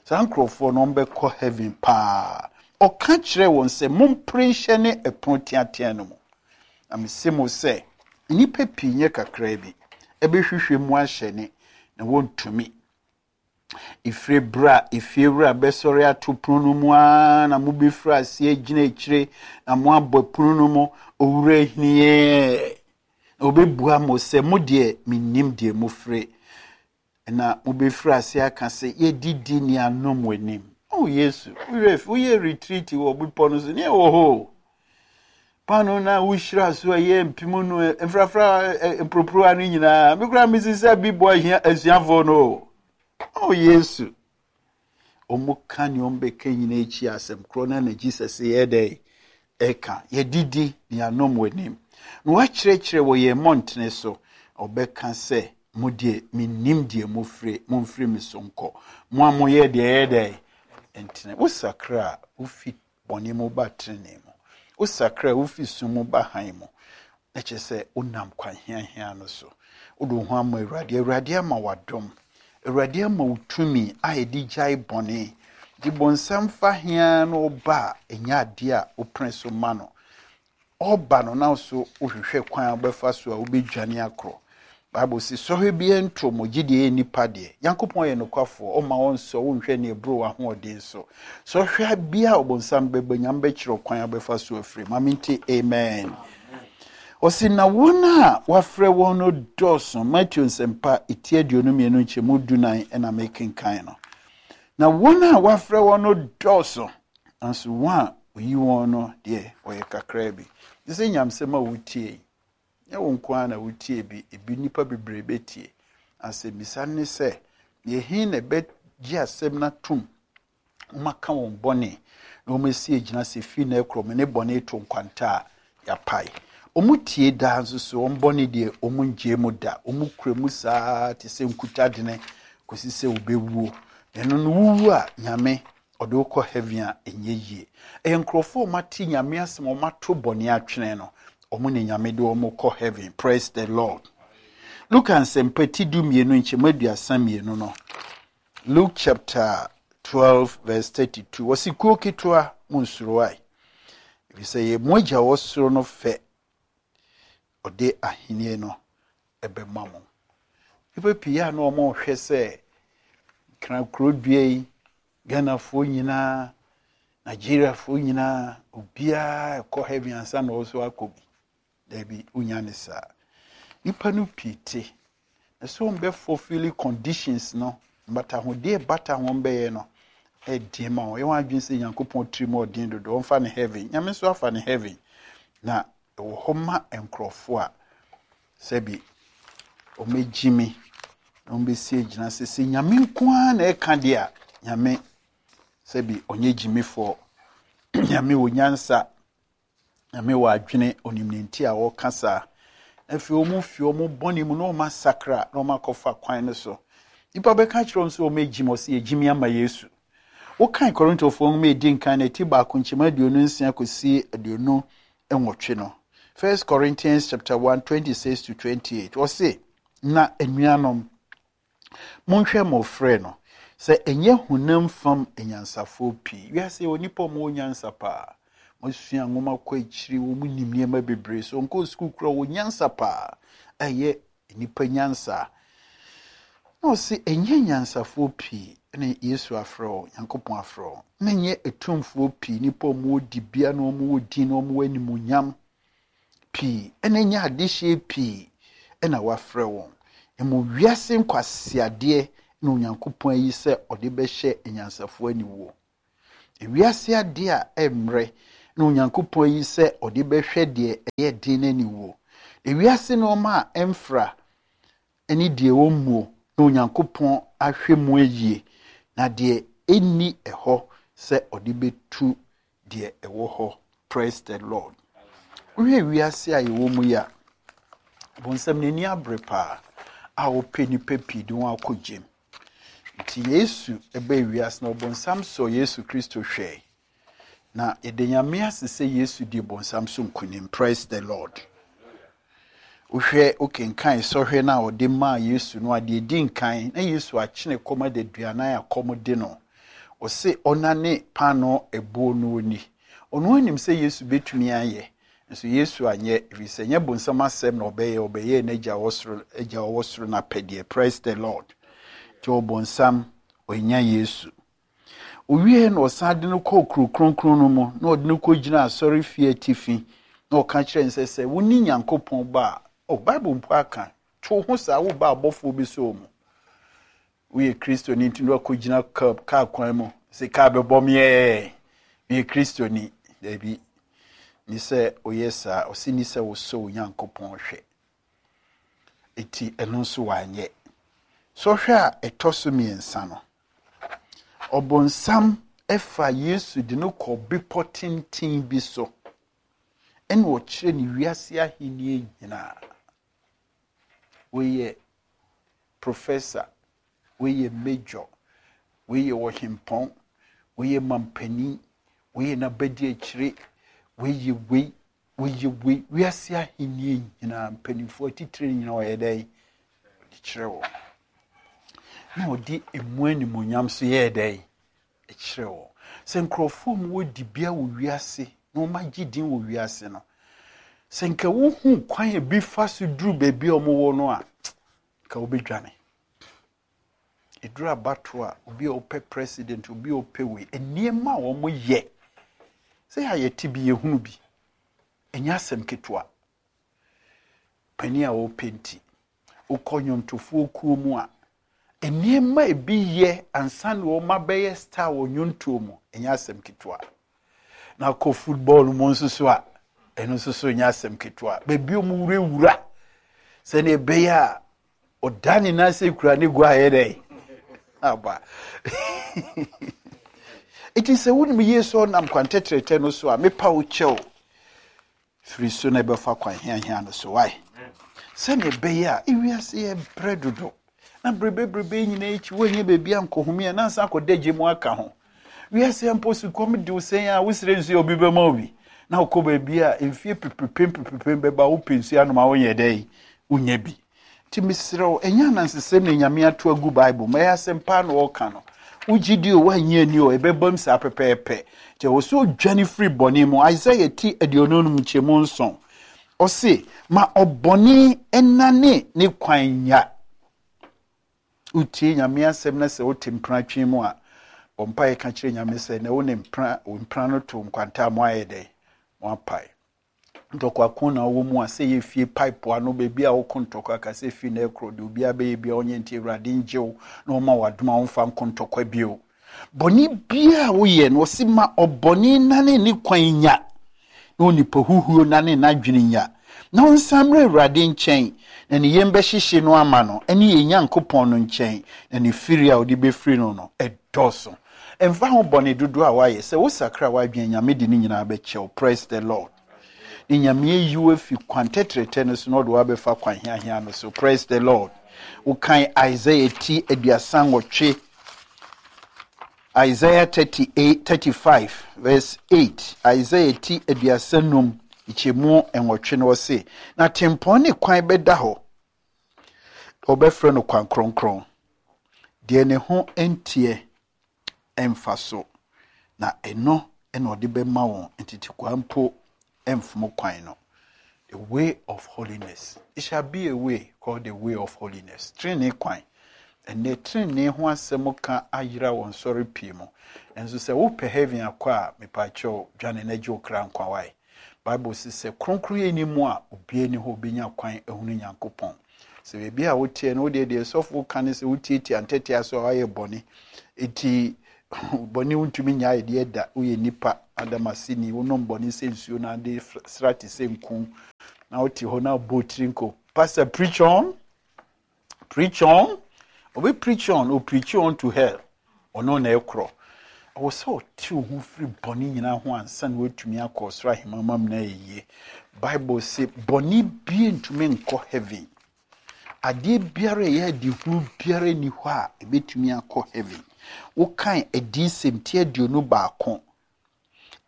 Saa nkurɔfoɔ no ɔmbɛkɔ heaven paa. Ɔka kyerɛ wɔn sɛ mompere nhyɛ ne ɛpono teatea no mu. Na mese mo sɛ nnipa pii nyɛ kakraa bi ɛbɛhwehwɛ mu ahyɛne na wɔntumi. Ɛfiri berɛ a efiewura bɛsɔre ato pono no mu ara na mobɛfiri aseɛ gyina akyire na moabɔ pono no mu owura hiniɛ. Na ɔbɛbua mo sɛ mo deɛ mennim deɛ mofiri. Na mobɛfiri ase aka sɛ yɛdidi ne anom w'anim. Oh Yesu, woyɛ retreat wɔ bepɔ no so ne ɛwɔ hɔ. Paano na wohyira so a ɛyɛ mpem no mfrafra mporoporowa no nyinaa. Me koraa mesi sɛ bi bɔ ahia asuafoɔ no o. Oh Yesu. Ɔmo ka nea ɔmo bɛka nyinaa akyi asɛm korɔ no na Jesus yɛ dɛ ɛka. Yɛdidi ne anom w'anim. Na wakyerɛkyerɛ wɔ yɛn mmɔntene so. Ɔbɛka sɛ mo deɛ mennim deɛ mofiri momfiri me so nkɔ. Mo a moyɛ deɛ ɛyɛ dɛ ntene. Wosakra a wofi bɔne mu ba tenenee mu. Wosakra a wofi sum mu ba hann mu. Na kyerɛ sɛ wonam kwan hiahia no so. Wode wo ho ama Awurade. Awurade ama w'adom. Awurade ama wo tumi a yɛde gyae bɔne. Nti bɔnsam fa hia na ɔba a ɛnyɛ adeɛ a wopene so ma no. Ɔba no na so wohwehwɛ kwan a wobɛfa so a wobɛdwane akorɔ. Bible sɛ sɔhwɛ biara nto mo gye deɛ ɛyɛ nipa deɛ. Nyankopɔn yɛ nokwafoɔ, ɔma wɔn nsɔ wonhwɛ ne ɛboro w'ahoɔden so. Sɔhwɛ biara a ɔbɔnsam bɛba Nyame bɛkyerɛ kwan a wobɛfa so afiri. Ma mente amen. Ɔsi na wɔn a wɔafrɛ wɔn no dɔɔso. Matthew nsɛmpa eti aduonu mmienu nkyɛmu dunan ɛna mekenkan no. Na wɔn a wɔafrɛ wɔn no dɔɔso, nanso wɔn a oyi wɔn no deɛ wɔyɛ kakraa bi. Te sɛ nyamsɛm a wotie yi, nyɛ wo nko ara na wotie bi, ebi nnipa bebree bɛtie. Asɛmmisa ne sɛ, deɛ he na ɛbɛgye asɛm no atom, wɔaka wɔn bɔne na wɔasi agyina sɛ firi na ɛkorɔ me ne bɔne to nkwanta a yɛapae. Wɔn tie daa nso so wɔn bɔne deɛ wɔn ngye mu da. Wɔn kura mu saa te sɛ nkutadene kɔsi sɛ wɔbɛwuo. Ɛno no wuwu a Nyame ɔde wo kɔ heaven a ɛnyɛ yie. Ɛyɛ nkurɔfoɔ a wɔate Nyame asɛm a wɔato bɔne atwene no, wɔn ne Nyame de wɔn kɔ heaven. Praise the Lord. Luka nsɛmpa ti du mmienu nkyɛmu aduasa mmienu no. Luke chapter twelve verse thirty-two. Wɔsi kuo ketewa mu nsuro ae. Efisɛ yɛ mo agya wɔ soro no fɛ ɔde ahenni no ɛbɛma mo. Nnipa pii a na wɔrehwɛ sɛ kra kuro dua yi, Ghanafoɔ nyinaa, Nigeriafoɔ nyinaa, obiara ɛkɔ heaven ansa na ɔso akɔ bi. Dabi, wonya ne saa. Nnipa no pii te. Na sɛ wɔn bɛ fulfill conditions no, mbatahodeɛ bata wɔn bɛyɛ no, ɛdeɛ ma wɔn. Yɛn wɔn adwene sɛ Nyankopɔn tiri mu ɔden dodo, wɔmfa ne heaven. Nyame nso afa ne heaven. Na ɛwɔ hɔ ma nkurɔfoɔ a sɛbi wɔn mi na wɔn bɛsi agyina sɛ sɛ Nyame nko ara na ɛka deɛ a, Nyame sɛbi ɔnyɛ gyimifoɔ. Nyame wɔ nyansa. Nyame wɔ adwene, onim ne nti a ɔreka saa. Afei wɔn fi wɔn bɔne mu na wɔn asakra na wɔn akɔfa kwan no so. Nipa bɛka kyerɛ wɔn sɛ wɔn agyim, ɔsɛ yɛgyimi ama Yesu. Wokan Korintofoɔ nwoma a edi nkan na eti baako nkyɛmu aduonu nsia kɔsi aduonu nwɔtwe no. First Corinthians chapter one, twenty-six to twenty-eight. Ɔse, na anuanom, monhwɛ mo frɛ no, sɛ ɛnyɛ honam fam anyansafoɔ pii. Wiase wɔ nipa a wɔwɔ nyansa paa. Wɔasua nwoma kɔ akyiri, wɔn nim nneɛma bebree. So nkɔ sukuu koraa wɔ nyansa paa. Ɛyɛ nipa nyansa. Na ɔse ɛnyɛ nyansafoɔ pii na Yesu afrɛ wɔn, Nyankopɔn afrɛ wɔn. Na ɛnyɛ atumfoɔ pii, nipa a wɔwɔ dibea na wɔwɔ din na wɔwɔ animuonyam pii, ɛna ɛnyɛ adehyeɛ pii ɛna wafrɛ wɔn. Emu wiase nkwaseadeɛ na Onyankopɔn ayi sɛ ɔde bɛhyɛ anyansafoɔ aniwuo. Ewiase adeɛ a ɛmmerɛ na Onyankopɔn ayi sɛ ɔde bɛhwɛ deɛ ɛyɛ den no aniwuo. Ewiase nneɛma a ɛmfra ne deɛ ɔmmuo na Onyankopɔn ahwɛ mu ayie, na deɛ ɛnni ɛhɔ sɛ ɔde bɛtu deɛ ɛwɔ hɔ. Praise the Lord. Wohwɛ wiase a yɛwɔ mu yi a, bonsam n'ani abere paa a ɔpɛ nnipa pii de wɔn akɔ gyem. Nti Yesu ɛbɛɛ wiase na ɔbonsam sɔɔ Yesu Kristo hwɛe. Na yɛda Nyame ase sɛ Yesu di bonsam so nkonim. Praise the Lord. Wohwɛ, wokenkan sɔhwɛ no a ɔde maa Yesu no a, deɛ ɛdi nkan na Yesu akyene kɔm adaduanan a kɔm de no. Ɔse ɔnane paanoo ɛbuo no oni. Ɔno anim sɛ Yesu bɛtumi ayɛ, nso Yesu anyɛ, ɛfiri sɛ nyɛ bonsam asɛm na ɔbɛyɛ, ɔbɛyɛ n'agya wɔ soro, agya ɔwɔ soro n'apɛdeɛ. Praise the Lord. Nti ɔbonsam ɔnya Yesu. Owie na ɔsan de no kɔɔ kuro kronkron no mu, na ɔde no kɔgyina asɔre fie atifi, na ɔka kyerɛ no sɛ, sɛ wo ne Nyankopɔn ba a, oh, Bible mpo aka, to ho saa, wo ba abɔfoɔ bi so mu. Woyɛ Kristoni nti na wakɔgyina kaa kwan mu sɛ kaa bɛbɔ me ɛɛ, meyɛ Kristoni. Dabi, ni sɛ woyɛ saa, ɔse ni sɛ wosɔ wo Nyankopɔn hwɛ. Eti ɛno nso wanyɛ. Sɔhwɛ a ɛtɔ so mmiɛnsa no, ɔbonsam ɛfa Yesu de no kɔ bepɔ tenten bi so, ɛna ɔkyerɛ ne wiase ahenni nyinaa. Woyɛ professor, woyɛ major, woyɛ ɔhempɔn, woyɛ mampanin, woyɛ n'abadi akyire, woyɛ wei, woyɛ wei, wiase ahenni nyinaa, mpanimfoɔ atitire nyinaa ɔyɛ dɛn? Ɔde kyerɛ wɔn. Na ɔde emu animuonyam so yɛɛ dɛn? Ɛkyerɛ wɔn. Sɛ nkurɔfoɔ mu wɔ dibea wɔ wiase na wɔn agye din wɔ wiase no, sɛ nka wohu kwan a bi fa so duru baabi a wɔwɔ no a, nka wobɛdwane. Ɛduru abato a, obi a ɔpɛ president, obi a ɔpɛ wei, nneɛma a wɔyɛ, sɛ yɛ a yɛte bi, yɛhunu bi, ɛnyɛ asɛm ketewa. Panin a ɔpɛ nti, wokɔ nnwontofoɔ kuo mu a, nneɛma ebi yɛ ansa na wɔn abɛyɛ star wɔ nnwontoɔ mu, ɛnyɛ asɛm ketewa. Na kɔ football mu nso so a, ɛno nso so nyɛ asɛm ketewa. Baabi a wɔn wurawura, sɛnea ɛbɛyɛ a ɔda ne nan ase kura ne gua ayɛ dɛ aba. Eti sɛ wonim yie sɛ ɔnam kwan tɛtrɛtɛ no so a, mepa wo kyɛw firi so na ɛbɛfa kwan hiahia no so wae. Sɛnea ɛbɛyɛ a ewiase yɛ brɛ dodo na berebeberebe nyinaa akyi woanyɛ baabi ankɔhome a nansa akɔda gye mu aka ho. Wiase mpo sukɔm de wo sɛn a wosrɛ nsuo a obi bɛma wo bi, na wokɔ baabi a mfie pepepem pepepem bɛba, wopɛ nsuo anom a wonyɛ dɛn? Wonyɛ bi. Nti mesrɛ wo, ɛnyɛ anansesɛm na Nyame ato agu Bible mu, ɛyɛ asɛm paa na ɔreka no. Wogye di o, woanyɛ ani o, ɛbɛbam saa pɛpɛɛpɛ. Nti ɛwɔ sɛ odwane firi bɔne mu. Isaiah ti aduonu num nkyɛmu nson. Ɔse, ma ɔbɔne ɛnane ne kwan nya. Wotie Nyame asɛm na sɛ wote mpratwe mu a, bɔ mpaeɛ ka kyerɛ Nyame sɛ, na wo ne mpra, wo mpra no to nkwanta a mo ayɛ dɛn? Mo apae. Ntɔkwa ko na wɔ mu a, sɛ yɛ fie pipe ano, baabi a wokɔ ntɔkwa ka sɛ fie na ɛkorɔ deɛ obiara bɛyɛ bia ɔnyɛ, nti Awurade ngye wo na ɔma w'adom a womfa nkɔ ntɔkwa bio. Bɔne biara a woyɛ no, ɔse ma ɔbɔne nane ne kwan nya, na onipa huhuo nane n'adwene nya, na ɔnsan mmerɛ Awurade nkyɛn, na ne yam bɛhyehye no ama no, ɛne yɛn Nyankopɔn no nkyɛn, na ne firi a ɔde bɛfiri no no ɛdɔɔso. Ɛmfa ho bɔne dodoɔ a woayɛ, sɛ wosakra w'adwene, Nyame de ne nyinaa bɛkyɛ wo. Praise the Lord. Ne Nyame ayi wo afi kwan tɛtrɛtɛ no so na ɔde wo abɛfa kwan hiahia no so. Praise the Lord. Wokan Isaiah ti aduasa nwɔtwe, Isaiah thirty-eight, thirty-five verse eight, Isaiah ti aduasa num nkyɛmu nwɔtwe no, ɔse, na tempɔn ne kwan bɛda hɔ, ɔbɛfrɛ no kwan kronkron, deɛ ne ho nteɛ ɛmfa so, na ɛno ɛna ɔde bɛma wɔn ntetekwa mpo ɛmfom kwan no. The way of holiness. It shall be a way called the way of holiness. Trenee kwan. Ɛnɛ trenee ho asɛm ka ayera wɔn sɔre pii mu. Nso sɛ wopɛ heaven akɔ a, mepaakyɛw dwane na gye wo kra nkwa wae. Bible sɛ sɛ kronkron yɛ ni mu a, obiara ni hɔ obenya kwan ahunu Nyankopɔn. Sɛ baabi a woteɛ no, wodeɛ deɛ sɔfo ka ne sɛ wotietie antɛtea so a, woayɛ bɔne. Eti bɔne wontumi nya ayɛdeɛ da. Woyɛ nipa adamaseni, wonom bɔne sɛ nsuo na ade sra te sɛ nku, na wote hɔ na wobɔ tiri nko. Pastor, preach on, preach on. Obi preach on o, preach on to hell. Ɔno na ɛkorɔ. Ɛwɔ sɛ ɔte wo ho firi bɔne nyinaa ho ansa na woatumi akɔ ɔsoro ahemama mu. Na ɛyie, Bible sɛ bɔne bie ntumi nkɔ heaven. Adeɛ biara a ɛyɛ adehunu biara ni hɔ a ɛbɛtumi akɔ heaven. Wokan Adiyisɛm ti aduonu baako,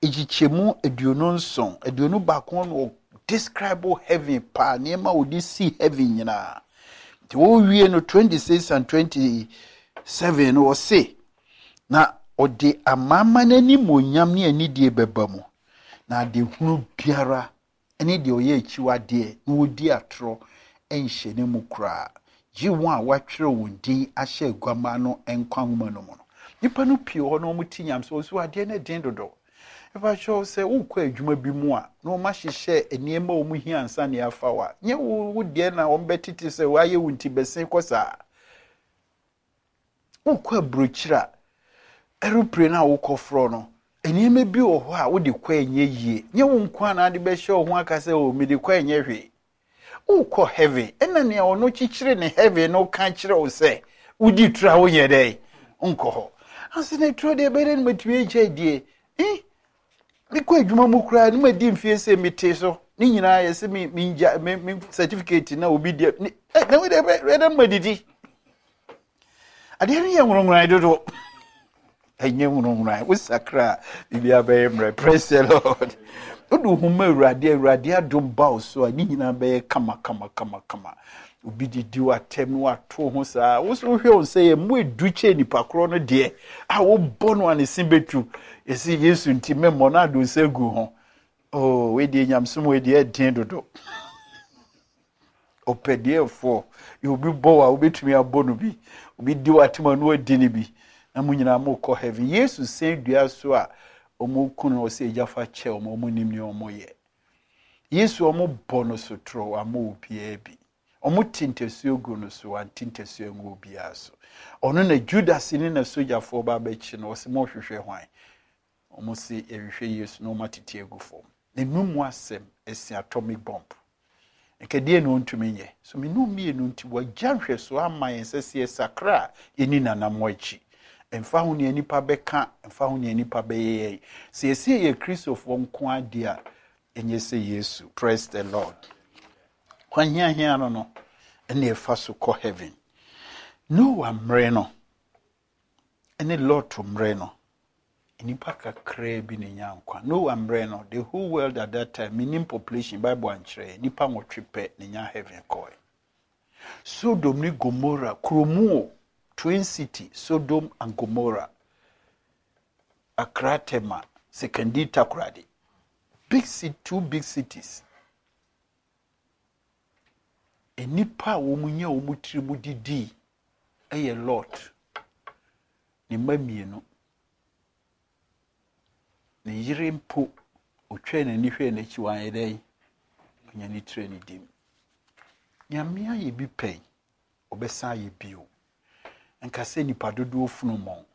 ekyikyɛmu aduonu nson, aduonu baako no, describe heaven paa, nneɛma a wɔde si heaven nyinaa. Nti wɔrewie no, twenty-six and twenty-seven no, wɔse na ɔde amanaman n'animonyam ne anidie bɛba mu, na adehunu biara ne deɛ ɔyɛ akyiwadeɛ na wɔdi atorɔ nhyɛ ne mu koraa, gye wɔn a wɔatwerɛ wɔn din ahyɛ Aguama no nkwa nwoma no mu no. Nipa no pii wɔ hɔ na wɔn ti nyam sɛ ɔso adeɛ no den dodo. Ɛfa sɛ wokɔ adwuma bi mu a, na wɔn ahyehyɛ nneɛma a wɔn hia ansa na yɛafa wa nyɛ wo wo deɛ na wɔn bɛtete sɛ wɔayɛ wo nti bɛsen kɔ saa. Wokɔ aburokyire a, aeroplane a wokɔ forɔ no, nneɛma bi wɔ hɔ a wode kɔ ɛnyɛ yie. Nyɛ wo nko a na ade bɛhyɛ wo ho aka sɛ o, mede kɔ ɛnyɛ hwee. Wokɔ heaven, ɛna nea ɔno kyekyere ne heaven no ka kyerɛ wo sɛ wodi turo a, wonyɛ dɛn nkɔ hɔ ase na turo deɛ ɛbɛyɛ dɛ no matumi agya die eh mekɔ adwuma mu koraa ne madi mfie sɛ mete so ne nyinaa yɛ sɛ mengya me me certificate na obi deɛ ne ɛ na wode ɛbɛ dɛ madidi. Adeɛ no yɛ nworɔnworan dodo. Ɛnyɛ nworɔnworan. Wosakra a, biribiara bɛyɛ mmerɛ. Praise the Lord. Wode wo ho ma Awurade, Awurade adom ba wo so a, ne nyinaa bɛyɛ kama kama kama kama. Obi didi w'atɛm na wato ho saa, wo so wohwɛ wo sɛ yɛ mu edu kyɛ nipa korɔ no deɛ a wobɔ no a, ne se bɛtu. Yɛsi Yesu nti memmɔ no ado nsa gu ho. Oh, wei deɛ, nyamsom wei deɛ, ɛden dodo. Ɔpɛdeɛfoɔ yɛ obi bɔ wo a, wobɛtumi abɔ no bi. Obi di w'atɛm a, na wadi no bi, na mo nyinaa mokɔ heaven. Yesu sɛn dua so a ɔmo ku no, ɔsɛ, "Agya, fa kyɛ ɔmo, ɔmo nim nea ɔmo yɛ." Yesu, ɔmo bɔ no sotorɔ, wama obiara bi. Ɔmo te ntasuo gu no so, wante ntasuo ngu obiara so. Ɔno na Judas ne na sogyafoɔ ba abɛkyi no, ɔsɛ, "Mo hwehwɛ hwan?" Ɔmo se, "Yɛhwehwɛ Yesu," na ɔmo atete agu fam. N'enum asɛm esi atomic bomb. Nkadeɛ na ɔntumi nyɛ so. Menu mmienu nti wagya nhwɛsoɔ ama yɛn sɛ sɛ yɛsakra a, yɛni nanam akyi. Mfa ho nea nipa bɛka, mfa ho nea nipa bɛyɛ yɛn, sɛ yɛsi yɛ Kristofoɔ nko adeɛ a, ɛnyɛ sɛ Yesu. Praise the Lord. Kwan hiahia no no ɛna ɛfa so kɔ heaven. Noah mmerɛ no ɛne Lot mmerɛ no, nipa kakraa bi na nya nkwa. Noah mmerɛ no, the whole world at that time, minim population, Bible ankyerɛ, nipa nwɔtwe pɛ na nya heaven kɔɛ. Sodom ne Gomorrah kuromu o, twin city, Sodom and Gomorrah, Accra, Tema, Sekondi, Takoradi, big city, two big cities. Nnipa a wɔn nya wɔn tiri mu didi yɛ Lot ne mma mmienu. Ne yere mpo, otwa n'ani hwɛ n'akyi, wanyɛ dɛn ɔnya ne tiri ne dim. Nyame ayɛ bi pɛn, ɔbɛsan ayɛ bio. Nka sɛ nipa dodoɔ funu mɔn.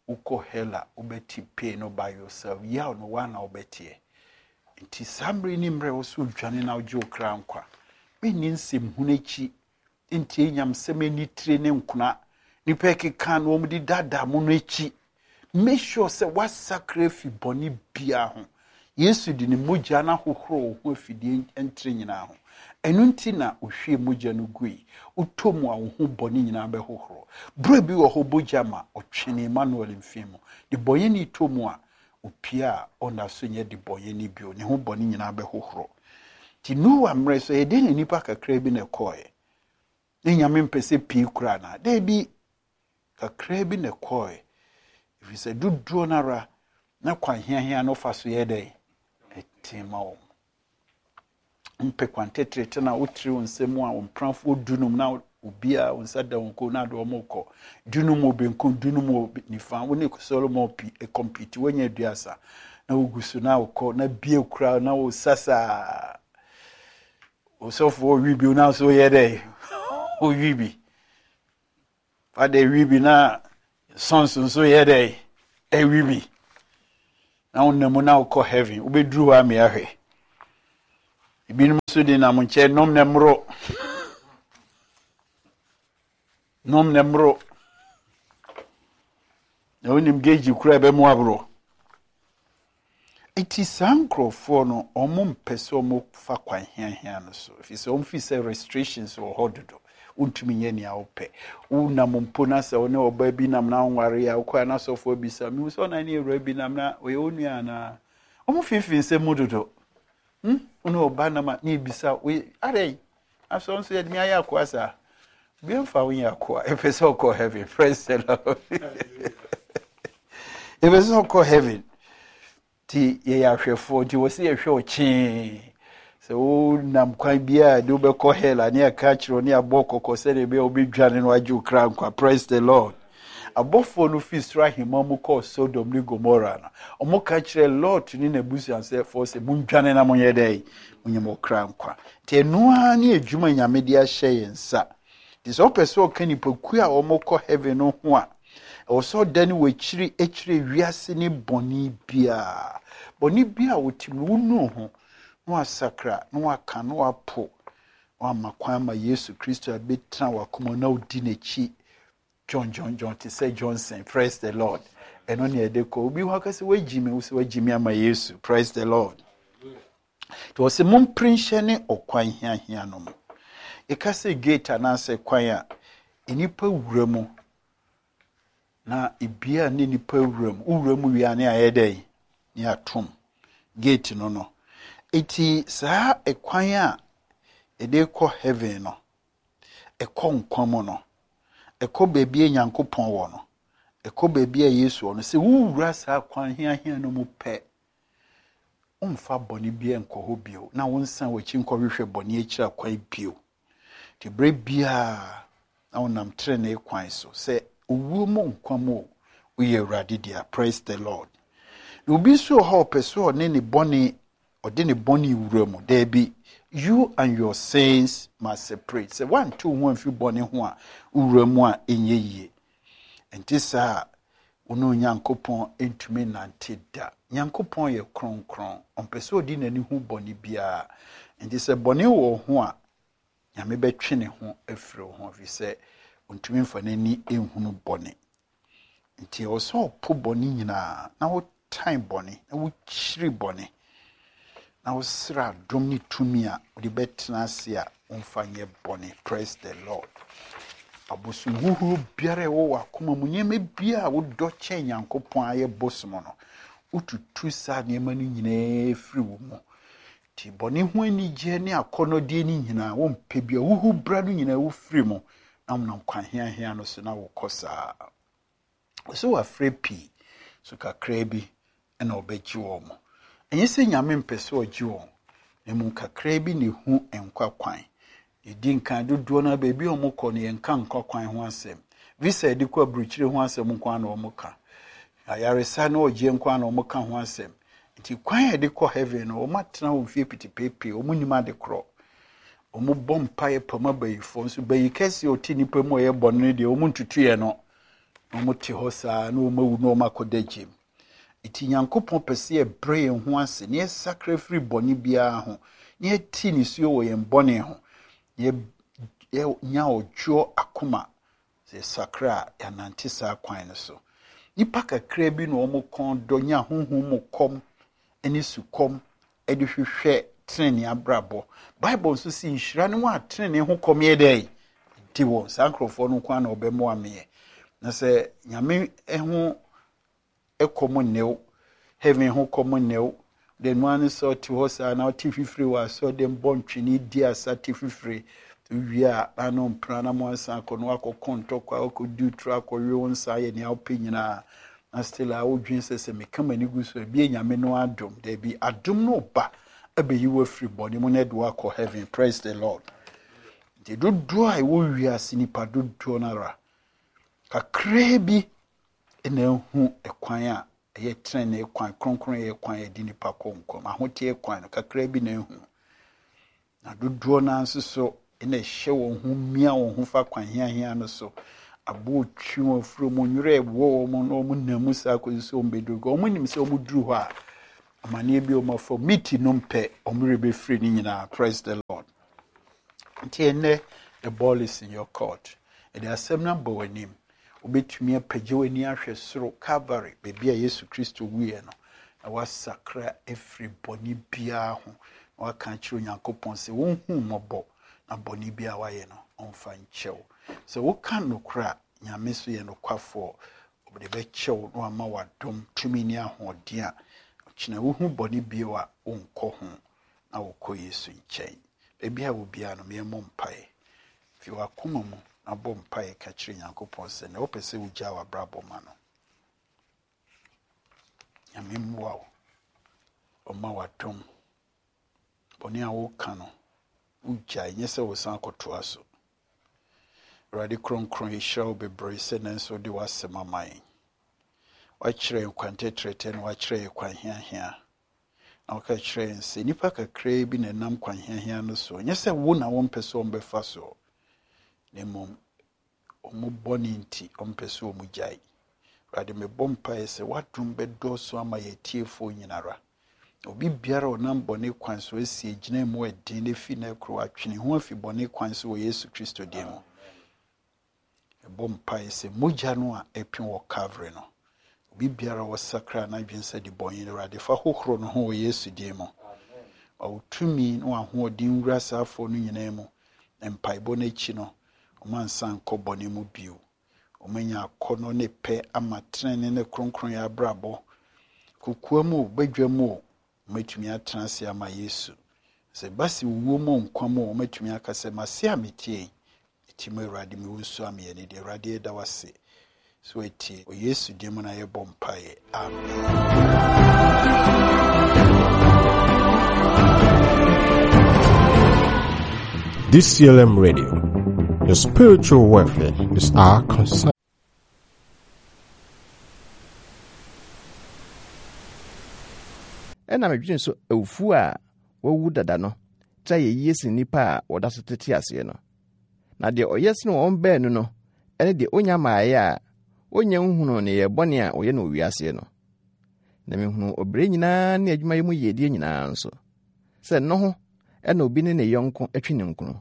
Wokɔ hell a, wobɛte pain no by yourself. Yaw no waa na wobɛteɛ. Nti saa mmerɛ ni mmerɛ wo so dwane na wogye wo kra nkwa. Menni nsɛm hunu akyi ntie nyamsɛm ani tire ne nkona nipa keka na wɔn de daadaa mo no akyi. Make sure sɛ wasakra afi bɔne biara ho. Yesu de ne mogya no ahohoro wo ho afidie ntere nyinaa ho. Ɛno nti na ohwie mogya no gui. Wotɔ mu a, wo ho bɔne nyinaa bɛhohoro. Berɛ bi wɔ hɔ, mogya ma ɔtwene Emmanuel mfe mu de bɔnyɛni tɔ mu a, opie a, ɔnda so nyɛ de bɔnyɛni bio. Ne ho bɔne nyinaa bɛhohoro. Nti Noa mmerɛ so, ɛyɛ den na nipa kakra bi na ɛkɔɔɛ. Ne Nyame mpɛ sɛ pii koraa na daabi, kakra bi na ɛkɔɔɛ, ɛfiri sɛ dodoɔ no ara na kwan hiahia no fa so yɛ dɛn ɛte ma wɔn. Mpɛ kwan tetrete na wotiri wo nsam a, wo mprafoɔ dunum na obiara wo nsa da wɔn kɔn na ade wɔn kɔ. Dunum wɔ benkum, dunum wɔ nifa. Wo ne Solomon pi compete, woanya aduasa na wogu so na wokɔ na bie kura na wo sasa osɔfoɔ wi bi na so yɛ dɛ Wowi bi. Fada wi bi na sons nso yɛ dɛ ɛwi bi. Na wonam mu na wokɔ heaven. Wobɛduru hɔ a ahwɛ. Ebinom nso de nam nkyɛn nom na mmoro. Nom na mmoro. Na wonim geegye kura ɛbɛmu aboro. Eti saa nkurɔfoɔ no, wɔn mpɛ sɛ wɔn fa kwan hiahia no so. Ɛfiri sɛ wɔn fi sɛ restrictions wɔ hɔ dodo. Wontumi nyɛ nea wopɛ. Wonam mpo na sɛ wo ne ɔbaa bi nam na wonware a, wokɔ a na asɔfoɔ bisa, mehu sɛ ɔnan ne awura bi nam na ɔyɛ wo nua anaa? Wɔn fiifii nsɛm mu dodo. Hmm? Wo ne ɔbaa nam a na ebisa, woyɛ adɛn? Asɔ nso yɛde me ayɛ akoa saa. Obi mfa wo nyɛ akoa. Ɛpɛ sɛ ɔkɔ heaven. Praise the Lord. Ɛpɛ sɛ ɔkɔ heaven. Nti yɛyɛ ahwɛfoɔ nti wɔ sɛ yɛhwɛ ɔkyee. Sɛ wonam kwan biara de wobɛkɔ hell a ne yɛka kyerɛ wo ne yɛabɔ kɔkɔ sɛdeɛ ɛbɛyɛ wobɛdwane no agye wo kra nkwa. Praise the Lord. Abɔfoɔ no firi soro ahemman mu kɔɔ Sodom ne Gomora no, wɔn ka kyerɛ Lot ne n'abusuafoɔ sɛ mondwane na monyɛ dɛn? Monyɛ mo kra nkwa. Nti ɛno ara ne adwuma Nyame de ahyɛ yɛn nsa. Nti sɛ wopɛ sɛ ɔka nnipakuo a wɔkɔ heaven no ho a, ɛwɔ sɛ ɔdane w'akyiri akyerɛ wiase ne bɔne biara. Bɔne biara a wotim no, wonu ho na wasakra na waka na wapo na wama kwan ma Yesu Kristo abɛtena w'akoma na wodi n'akyi John John John te sɛ Johnson. Praise the Lord. Ɛno ne ɛde kɔ. Obi hɔ aka sɛ wagyi me, wo sɛ wagyi me ama Yesu. Praise the Lord. Nti wɔ sɛ mompere nhyɛ ne ɔkwan hiahia no mu. Yɛka sɛ gate anaasɛ kwan a nnipa wura mu na ebia ne nnipa wura mu. Wowura mu wie a ne ayɛ dɛn? Ne atom gate no no. Eti saa ɛkwan a yɛde kɔ heaven no, ɛkɔ nkwa mu no, ɛkɔ baabi a Nyankopɔn wɔ no, ɛkɔ baabi a Yesu wɔ no. Sɛ wowura saa kwan hiahia no mu pɛ, womfa bɔne biara nkɔ hɔ bio na wonsan w'akyi nkɔhwehwɛ bɔne akyiri akwan bio. Nti berɛ biara na wonam tenenee kwan so sɛ owuo mu nkwa mu o, woyɛ Awurade dea. Praise the Lord. Na obi nso wɔ hɔ a ɔpɛ sɛ ɔne ne bɔne ɔde ne bɔne wura mu. Daabi, you and your sins must separate. Sɛ woante wo ho amfiri bɔne ho a, wowura mu a ɛnyɛ yie. Nti saa a, wo ne Onyankopɔn ntumi nante da. Nyankopɔn yɛ kronkron. Ɔmpɛ sɛ ɔde n'ani hu bɔne biara. Nti sɛ bɔne wɔ wo ho a, Nyame bɛtwe ne ho afiri wo ho ɛfiri sɛ ɔntumi mfa n'ani nhunu bɔne. Nti ɛwɔ sɛ ɔpo bɔne nyinaa na wotan bɔne na wokyiri bɔne na wosrɛ adom ne tumi a wode bɛtena ase a womfa nyɛ bɔne. Praise the Lord. Abosom huhuro biara a ɛwɔ w'akoma mu, nneɛma biara a wodɔ kyɛn Nyankopɔn ayɛ bosom no, wotutu saa nneɛma no nyinaa firi wo mu. Nti bɔne ho anigyeɛ ne akɔnnɔdeɛ no nyinaa wompɛ bia, wohu bra no nyinaa wofiri mu na wonam kwan hiahia no so na wokɔ saa. Ɔsɛ wafrɛ pii, so kakraa bi ɛna ɔbɛgye wɔn mo. Ɛnyɛ sɛ Nyame mpɛ sɛ ɔgye wɔn, na mmom kakraa bi na ehu nkwa kwan. Yɛdi nkan dodoɔ no baabi a wɔkɔ no yɛnka nkwa kwan ho asɛm. Visa a yɛde kɔ aburokyire ho asɛm nko ara na wɔka. Ayaresa ne ɔgyeɛ nko ara na wɔka ho asɛm. Nti kwan a yɛde kɔ heaven no, wɔn atena hɔ mfie pitipeepee, wɔn nim ade korɔ. Wɔn bɔ mpaeɛ pam abayifoɔ nso bayi kɛseɛ a ɔte nipa mu a ɔyɛ bɔne no deɛ wɔn ntutuiɛ no. Na wɔn te hɔ saa na wɔn awu na wɔn akɔda gyem. Nti Nyankopɔn pɛ sɛ yɛbrɛ yɛn ho ase na yɛsakra firi bɔne biara ho na yɛte nisuo wɔ yɛn bɔne ho na yɛnya ɔdwoɔ akoma. Sɛ yɛsakra a yɛanante saa kwan no so. Nnipa kakra bi na wɔn kɔn dɔ nya honhom mu kɔm ne sukɔm de hwehwɛ tenenee abrabɔ. Bible nso si nhyira ne wɔn a tenenee ho kɔm yɛ dɛn? Di wɔn. Saa nkurɔfoɔ no nko ara na wɔbɛmoa meɛ. Na sɛ Nyame ho kɔm nne heaven ho kɔm nne wo, de noa ne sɛ ɔte hɔ saa na ɔte fifire wɔ asɔre bɔ ntwene di asa te fifire wie a na no mpena na mo ansa akɔ no akɔkɔ ntɔkwa akɔdi turo akɔwe wo nsa ayɛ nea wopɛ nyinaa na still a wodwen sɛ sɛ meka m'ani gu so ebi Nyame no adom. Daabi, adom no ba abɛyi wo afiri bɔne mu na ɛde wo akɔ heaven. Praise the Lord. Nti dodoɔ a ɛwɔ wiase nipa dodoɔ no ara kakraa bi na ehu ɛkwan a ɛyɛ tenenee kwan, kronkron yɛ kwan a yɛde nipa kɔ nkwa mu. Ahoteɛ kwan no kakraa bi na ehu. Na dodoɔ no ara nso so na ɛhyɛ wɔn ho mia wɔn ho fa kwan hiahia no so. Aboɔ twi wɔn afuro mu, nwerɛ ɛwɔ wɔn na wɔn nam mu saa kɔsi sɛ wɔn bɛduru. Wɔn nim sɛ wɔn duru hɔ a, amanneɛ bi a wɔn afa miti no mpɛ, wɔn werɛ bɛfiri ne nyinaa. Praise the Lord. Nti ɛnnɛ, the ball is in your court. Ɛde asɛm no abɔ w'anim. Wobɛtumi apagya w'ani ahwɛ soro, Calvary, baabi a Yesu Kristo wuiɛ no, na woasakra afiri bɔne biara ho, na woaka akyerɛ Onyankopɔn sɛ wonhu mmɔbɔ na bɔne biara woayɛ no, ɔmfa nkyɛ wo. Sɛ woka nokorɛ a, Nyame nso yɛ nokwafoɔ, ɔde bɛkyɛ wo na wama w'adom, tumi ne ahoɔden a ɔkyena wohu bɔne bio a, wonkɔ ho na wokɔ Yesu nkyɛn. Baabi a wɔ biara no, yɛmmɔ mpaeɛ. Fi w'akoma mu na bɔ mpaeɛ ka kyerɛ Nyankopɔn sɛ na wopɛ sɛ wogyaa w'abrabɔ ma no. Nyame mmoa wo, ɔma w'adom. Bɔne a woka no, wogyae, nyɛ sɛ wosan akɔtoa so. Awurade kronkron, yɛhyira wo bebree sɛ nanso wode w'asɛm ama yɛn. Wakyerɛ yɛn kwan tɛtrɛtɛ na wakyerɛ yɛn kwan hiahia. Na woka kyerɛ yɛn sɛ nnipa kakraa bi na ɛnam kwan hiahia no so. Nyɛ sɛ wo na wompɛ sɛ wɔmbɛfa soɔ, na mmom wɔn bɔne nti wɔmpɛ sɛ wɔn gyae. Awurade, mebɔ mpaeɛ sɛ w'adom bɛdɔɔso ama yɛn atiefoɔ nyinara. Obi biara a ɔnam bɔne kwan so asi agyina mu ɛden na efi na ɛkoro atwene ho afi bɔne kwan so wɔ Yesu Kristo din mu. Ɛbɔ mpaeɛ sɛ mogya no a ɛpem wɔ Calvary no, obi biara a wɔsakra n'adwene sɛ de bɔne no, Awurade fa hohoro no ho wɔ Yesu din mu. Ma wo tumi ne w'ahoɔden nwura saa afoɔ no nyinaa mu. Na mpaebɔ no akyi no, wɔn ansa nkɔ bɔne mu bio. Wɔanya akɔnnɔ ne pɛ ama tenenee ne kronkronyɛ abrabɔ. Kokoa mu o, badwa mu o, wɔatumi atena ase ama Yesu. Sɛ ɛba sɛ owuo mu nkwa mu o, wɔatumi aka sɛ, mase a metie yi, meti mu Awurade, mewo nso ameyɛ ne deɛ. Awurade, yɛda wo ase sɛ woatie. Wɔ Yesu din mu na yɛbɔ mpaeɛ. Amen. D C L M Radio, the spiritual welfare is our concern. Ɛna medwene so awufoɔ a wɔawu dada no tra yɛ yie sen nnipa a wɔda so tete aseɛ no. Na deɛ ɔyɛ sene wɔn baanu no ɛne deɛ onya mmaeɛ a onya nhunuu ne yɛ bɔne a ɔyɛ no wiaseɛ no. Na mehunuu ɔbrɛ nyinaa ne adwumayɛ mu yiedie nyinaa nso, sɛ no ho ɛna obi ne ne yɔnko atwi ne nkono.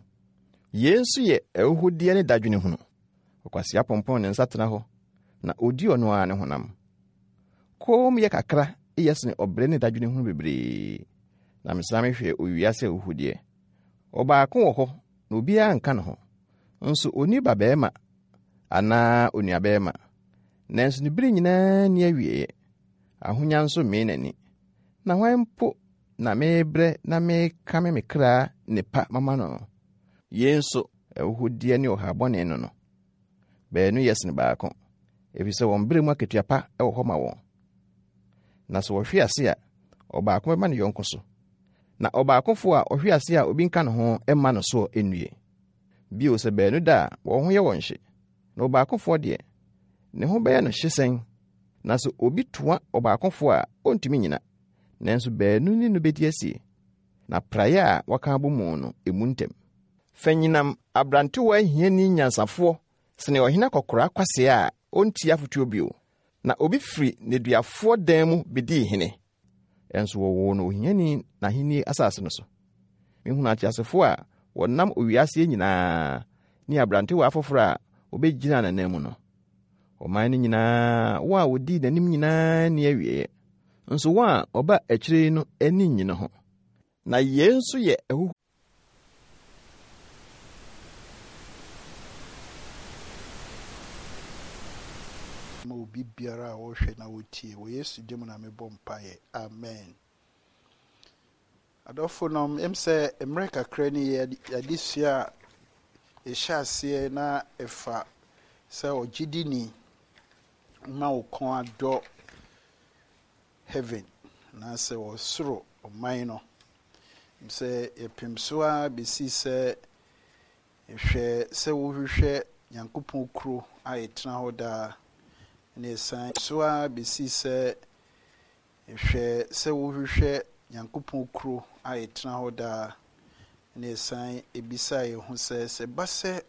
Yei nso yɛ ahuhudeɛ ne dadwene hunu. Ɔkwasea pompon ne nsa tena hɔ, na odi ɔno ara ne honam. Koom yɛ kakra yɛ sene ɔbrɛ ne dadwene hunu bebree. Na mesane mehwɛ owiase ahuhudeɛ. Ɔbaako wɔ hɔ na obiara nka ne ho, nso onni ba barima anaa onuabarima. Nanso ne bere nyinaa nni awieeɛ. Ahonya nso mmee n'ani. Na hwan mpo na merebrɛ na merekame me kra nnepa mama no? Yei nso ahuhudeɛ ne ɔhaw bɔne no no. Baanu yɛ sene baako, ɛfiri sɛ wɔn berɛ mu akatua pa wɔ hɔ ma wɔn. Na sɛ wɔhwe ase a, ɔbaako bɛma ne yɔnko so. Na ɔbaakofoɔ a ɔhwe ase a obi nka ne ho mma no soɔ nnue. Bio sɛ baanu da a, wɔn ho yɛ wɔn hye. Na ɔbaakofoɔ deɛ, ne ho bɛyɛ no hye sɛn. Na sɛ obi toa ɔbaakofoɔ a, ɔntumi nnyina. Nanso baanu ne no bɛdi asie. Na praeɛ a wɔaka abɔ mu no, emu ntɛm. Fanyinam aberantewa hiani nyansafoɔ sene ɔhene akɔkoraa kwasea a ɔntie afotuo bio. Na obi firi nneduafoɔ dan mu bedii hene. Ɛnso wɔwoo no ohiani n'ahenni asase no so. Mehunu ateasefoɔ a wɔnam owiaseɛ nyinaa ne aberantewa afoforɔ a wɔbɛgyina n'anan mu no. Ɔman no nyinaa, wɔn a wɔdii n'anim nyinaa nni awieeɛ. Nso wɔn a wɔba akyire no ani nnye ne ho. Na yei nso yɛ ahuhu. Ma obi biara a ɔrehwɛ na ɔtie, wɔ Yesu din mu na mebɔ mpaeɛ. Amen. Adɔfo nom, em sɛ mmerɛ kakra ni yɛde sua a yɛhyɛ aseɛ na ɛfa sɛ ɔgyidini ma wo kɔn adɔ heaven anaasɛ ɔsoro ɔman no. Sɛ yɛpem so ara bɛsi sɛ hwɛ sɛ wohwehwɛ Nyankopɔn kuro a yɛtena hɔ daa, na yɛsan so ara bɛsi sɛ hwɛ sɛ wohwehwɛ Nyankopɔn kuro a yɛtena hɔ daa, Na yɛsan ebisa yɛn ho sɛ, sɛ ɛba sɛ